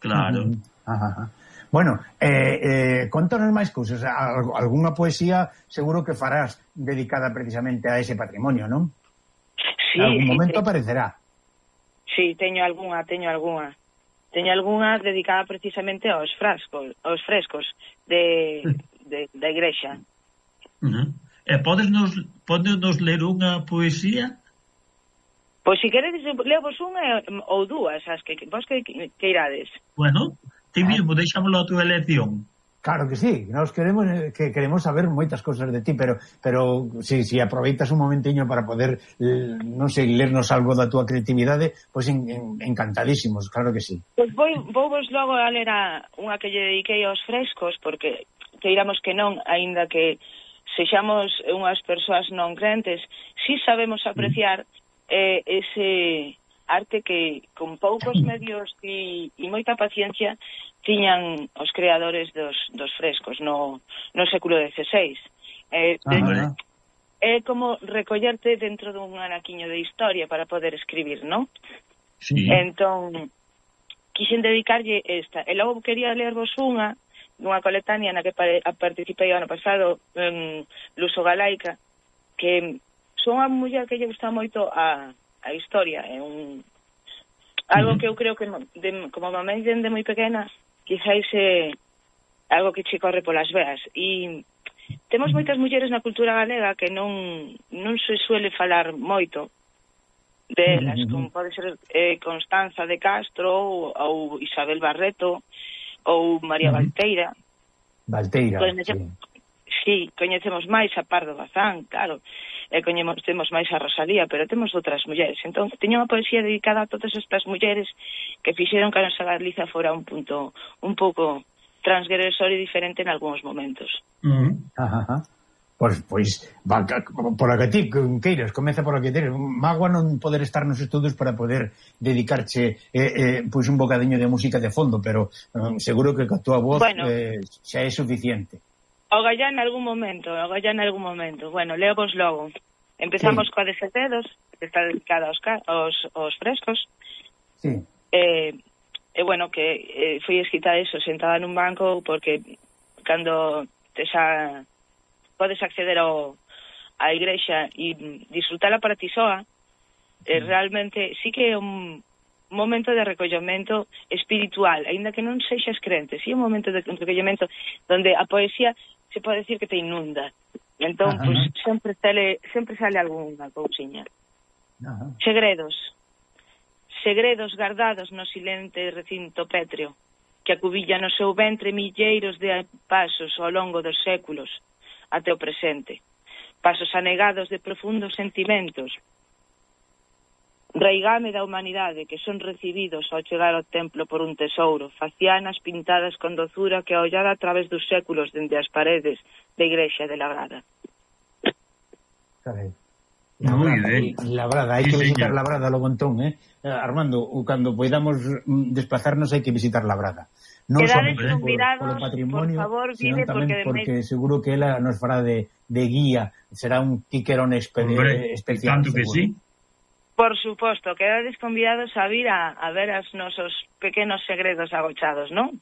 Claro. Ajá, ajá. Bueno, eh, eh, contanos máis cousas. Algúna poesía seguro que farás dedicada precisamente a ese patrimonio, non? Sí, en algún sí, momento sí. aparecerá. Sí, teño algunha, teño algunha. Teño algunha dedicada precisamente aos frascos, aos frescos de, de, da igrexa. Uh-huh. E podes nos, podes nos ler unha poesía? Pois si queredes, levo unha ou dúas, as que vos que, que irades. Bueno, ti mismo, deixámoslo a túa elección. Claro que sí, nos queremos que queremos saber moitas cousas de ti, pero pero si, si aproveitas un momentiño para poder, non sei, lernos algo da túa creatividade, pois en, en, encantadísimos, claro que sí. Pois vou, vou vos logo a ler a unha que lle dediquei aos frescos, porque queiramos que non, aínda que sexamos unhas persoas non crentes, si sabemos apreciar eh, ese arte que con poucos medios e, e moita paciencia tiñan os creadores dos, dos frescos no, no século dieciséis. Eh, de, é como recollerte dentro dun anaquiño de historia para poder escribir, non? Sí. Entón, quixen dedicarlle esta. E logo quería lervos unha, dunha coletánea na que participei ano pasado, en Luso Galaica, que son unha muller que lle gusta moito a, a historia. É un algo que eu creo que de, como mamãe dende moi pequena, quizáis é algo que che corre polas veas. E temos moitas mulleres na cultura galega que non non se suele falar moito delas, como pode ser eh, Constanza de Castro ou, ou Isabel Barreto ou María Valteira. Valteira, Coñece, sí. Sí, coñecemos máis a Pardo Bazán, claro, e coñecemos máis a Rosalía, pero temos outras mulleres. Entón, teño unha poesía dedicada a todas estas mulleres que fixeron que a nosa Galiza fora un punto un pouco transgresor e diferente en algúns momentos. Uh-huh. Ajá, ajá. Pois, pois, va, por a que ti queiras, comeza por a que teres. Magua non poder estar nos estudos para poder dedicarche eh, eh, pois un bocadiño de música de fondo, pero um, seguro que a tua voz bueno, eh, xa é suficiente. O gallá en algún momento, o gallá en algún momento. Bueno, leo vos logo. Empezamos sí. coa de Setedos, que está dedicada aos, aos, aos frescos. Sí. Eh, e bueno, que eh, foi escrita eso, sentada nun banco, porque cando te xa podes acceder ao, á igrexa e disfrutala para ti soa, eh, realmente sí que é un momento de recollemento espiritual, aínda que non sexas crente, sí é un momento de recollemento onde a poesía se pode decir que te inunda. Entón, pois, pues, sempre sale, sempre sale algunha cousiña. Ajá. Segredos. Segredos guardados no silente recinto pétreo, que acubilla no seu ventre milleiros de pasos ao longo dos séculos, até o presente. Pasos anegados de profundos sentimentos. Raigame da humanidade que son recibidos ao chegar ao templo por un tesouro, facianas pintadas con dozura que a ollar a través dos séculos dende as paredes da igrexa de Labrada. Carai. Labrada, Labrada, hai sí, que visitar señor. Labrada logo entón, eh? Armando, cando podamos desplazarnos hai que visitar Labrada. Non Quedades só por, convidados, polo patrimonio, por favor, sino vide, tamén porque, porque de seguro que ela nos fará de, de guía, será un tiquerón espe Hombre, especial. tanto que sí. Por suposto, quedades convidados a vir a, a ver os nosos pequenos segredos agochados, non?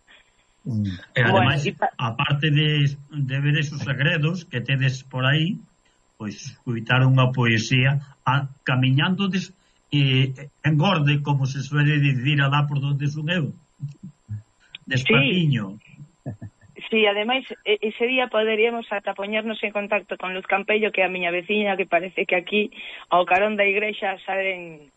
Mm. E ademais, bueno, y... aparte de, de ver esos segredos que tedes por aí, pois escutar unha poesía a, camiñando des, eh, engorde, como se suele dicir alá por donde son eu. Despatiño. Sí, sí, ademais, ese día poderíamos ata poñernos en contacto con Luz Campello, que é a miña veciña, que parece que aquí ao carón da igrexa saen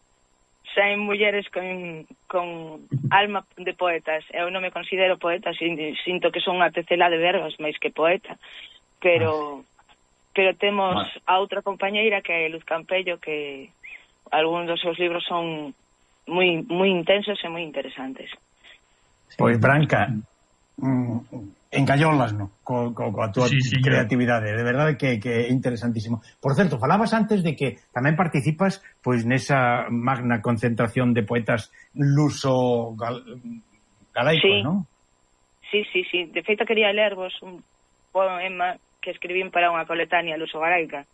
saen mulleres con, con alma de poetas. Eu non me considero poeta, sinto que son unha tecela de verbas máis que poeta, pero pero temos a outra compañeira que é Luz Campello, que algúns dos seus libros son moi moi intensos e moi interesantes. Pois, Branca, mm, engallolas, no? Co, co, coa túa sí, sí, creatividade, de verdade que, que é interesantísimo. Por certo, falabas antes de que tamén participas pois nesa magna concentración de poetas luso gal, galaicos, sí. non? Sí, sí, sí. De feito, quería lervos un poema que escribín para unha coletánea luso-galaica.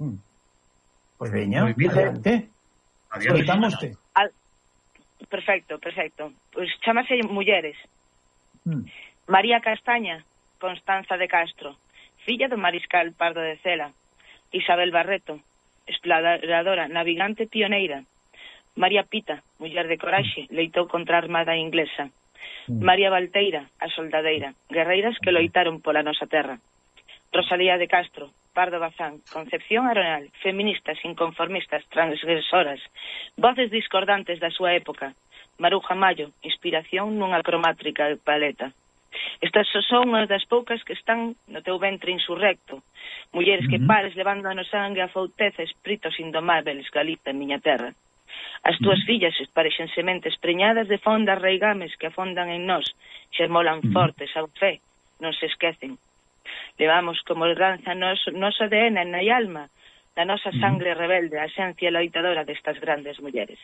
Hmm. Pois veña, adelante. Escoitámoste. Al... Perfecto, perfecto. Pois chamase Mulleres. Hmm. María Castaña, Constanza de Castro, filla do mariscal Pardo de Cela. Isabel Barreto, exploradora, navegante pioneira. María Pita, muller de coraxe, leitou contra a armada inglesa. María Valteira, a soldadeira, guerreiras que loitaron pola nosa terra. Rosalía de Castro, Pardo Bazán, Concepción Arenal, feministas, inconformistas, transgresoras, voces discordantes da súa época. Maruja Mayo, inspiración nunha cromátrica paleta. Estas son unhas das poucas que están no teu ventre insurrecto. Mulleres que pares levando no sangue a fouteza, espíritos indomáveis, Galiza, miña terra. As túas fillas parexen sementes preñadas de fondas reigames que afondan en nós, xermolan fortes, a fe, non se esquecen. Levamos como danza noso, noso A D N na alma, da nosa sangre rebelde, a esencia loitadora destas grandes mulleres.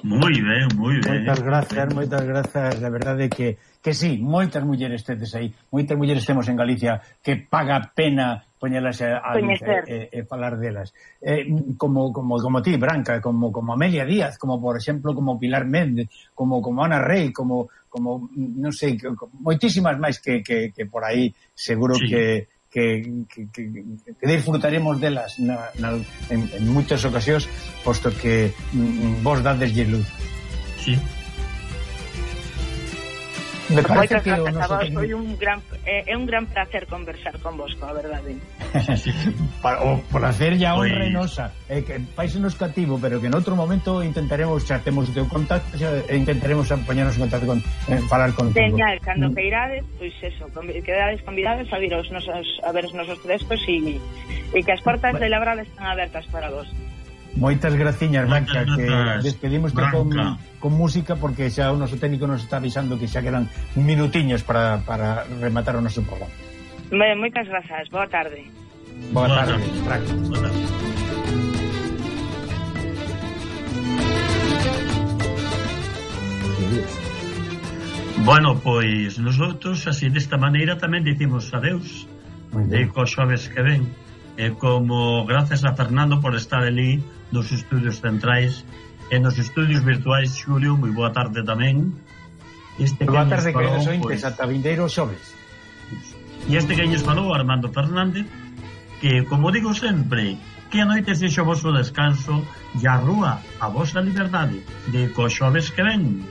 Moi ben, moi ben. Moitas grazas, moitas grazas. A verdade é que, que sí, moitas mulleres tedes aí, moitas mulleres temos en Galicia que paga pena poñelas a, a luz e, e, e falar delas. Eh, como, como, como ti, Branca, como, como Amelia Díaz, como por exemplo, como Pilar Méndez, como, como Ana Rey, como, como non sei, moitísimas máis que, que, que por aí seguro sí. que Que, que, que, que disfrutaremos delas na, na, en, en moitas ocasións, posto que mm, vos dadeslle luz. Sí. Me parece que o noso técnico... un gran, é, é un gran placer conversar con vos, a verdade. Para, o placer ya honra nosa, é que faisenos cativo, pero que en outro momento intentaremos, xa temos o teu contacto, xa, e intentaremos poñernos en contacto con eh, falar con Señal, cando que irades, pois eso, quedades convidados a vir os nosos, a ver os nosos frescos e, e que as portas bueno. de Labrada están abertas para vos. Moitas graciñas, Branca, que despedimos con, con música porque xa o noso técnico nos está avisando que xa quedan minutiños para, para rematar o noso programa. Moitas grazas, boa tarde. Boa tarde, Branca. Boa tarde. Bueno, pois nosotros así desta maneira tamén dicimos adeus de cos xoves que ven. E como gracias a Fernando por estar ali nos estudios centrais e nos estudios virtuais, Xulio, moi boa tarde tamén. Este boa tarde, queridos ointes, ata vindeiro xoves. E este que nos falou, Armando Fernández, que, como digo sempre, que a noite sexa o vosso descanso e a rúa a vosa liberdade de cos xoves que ven.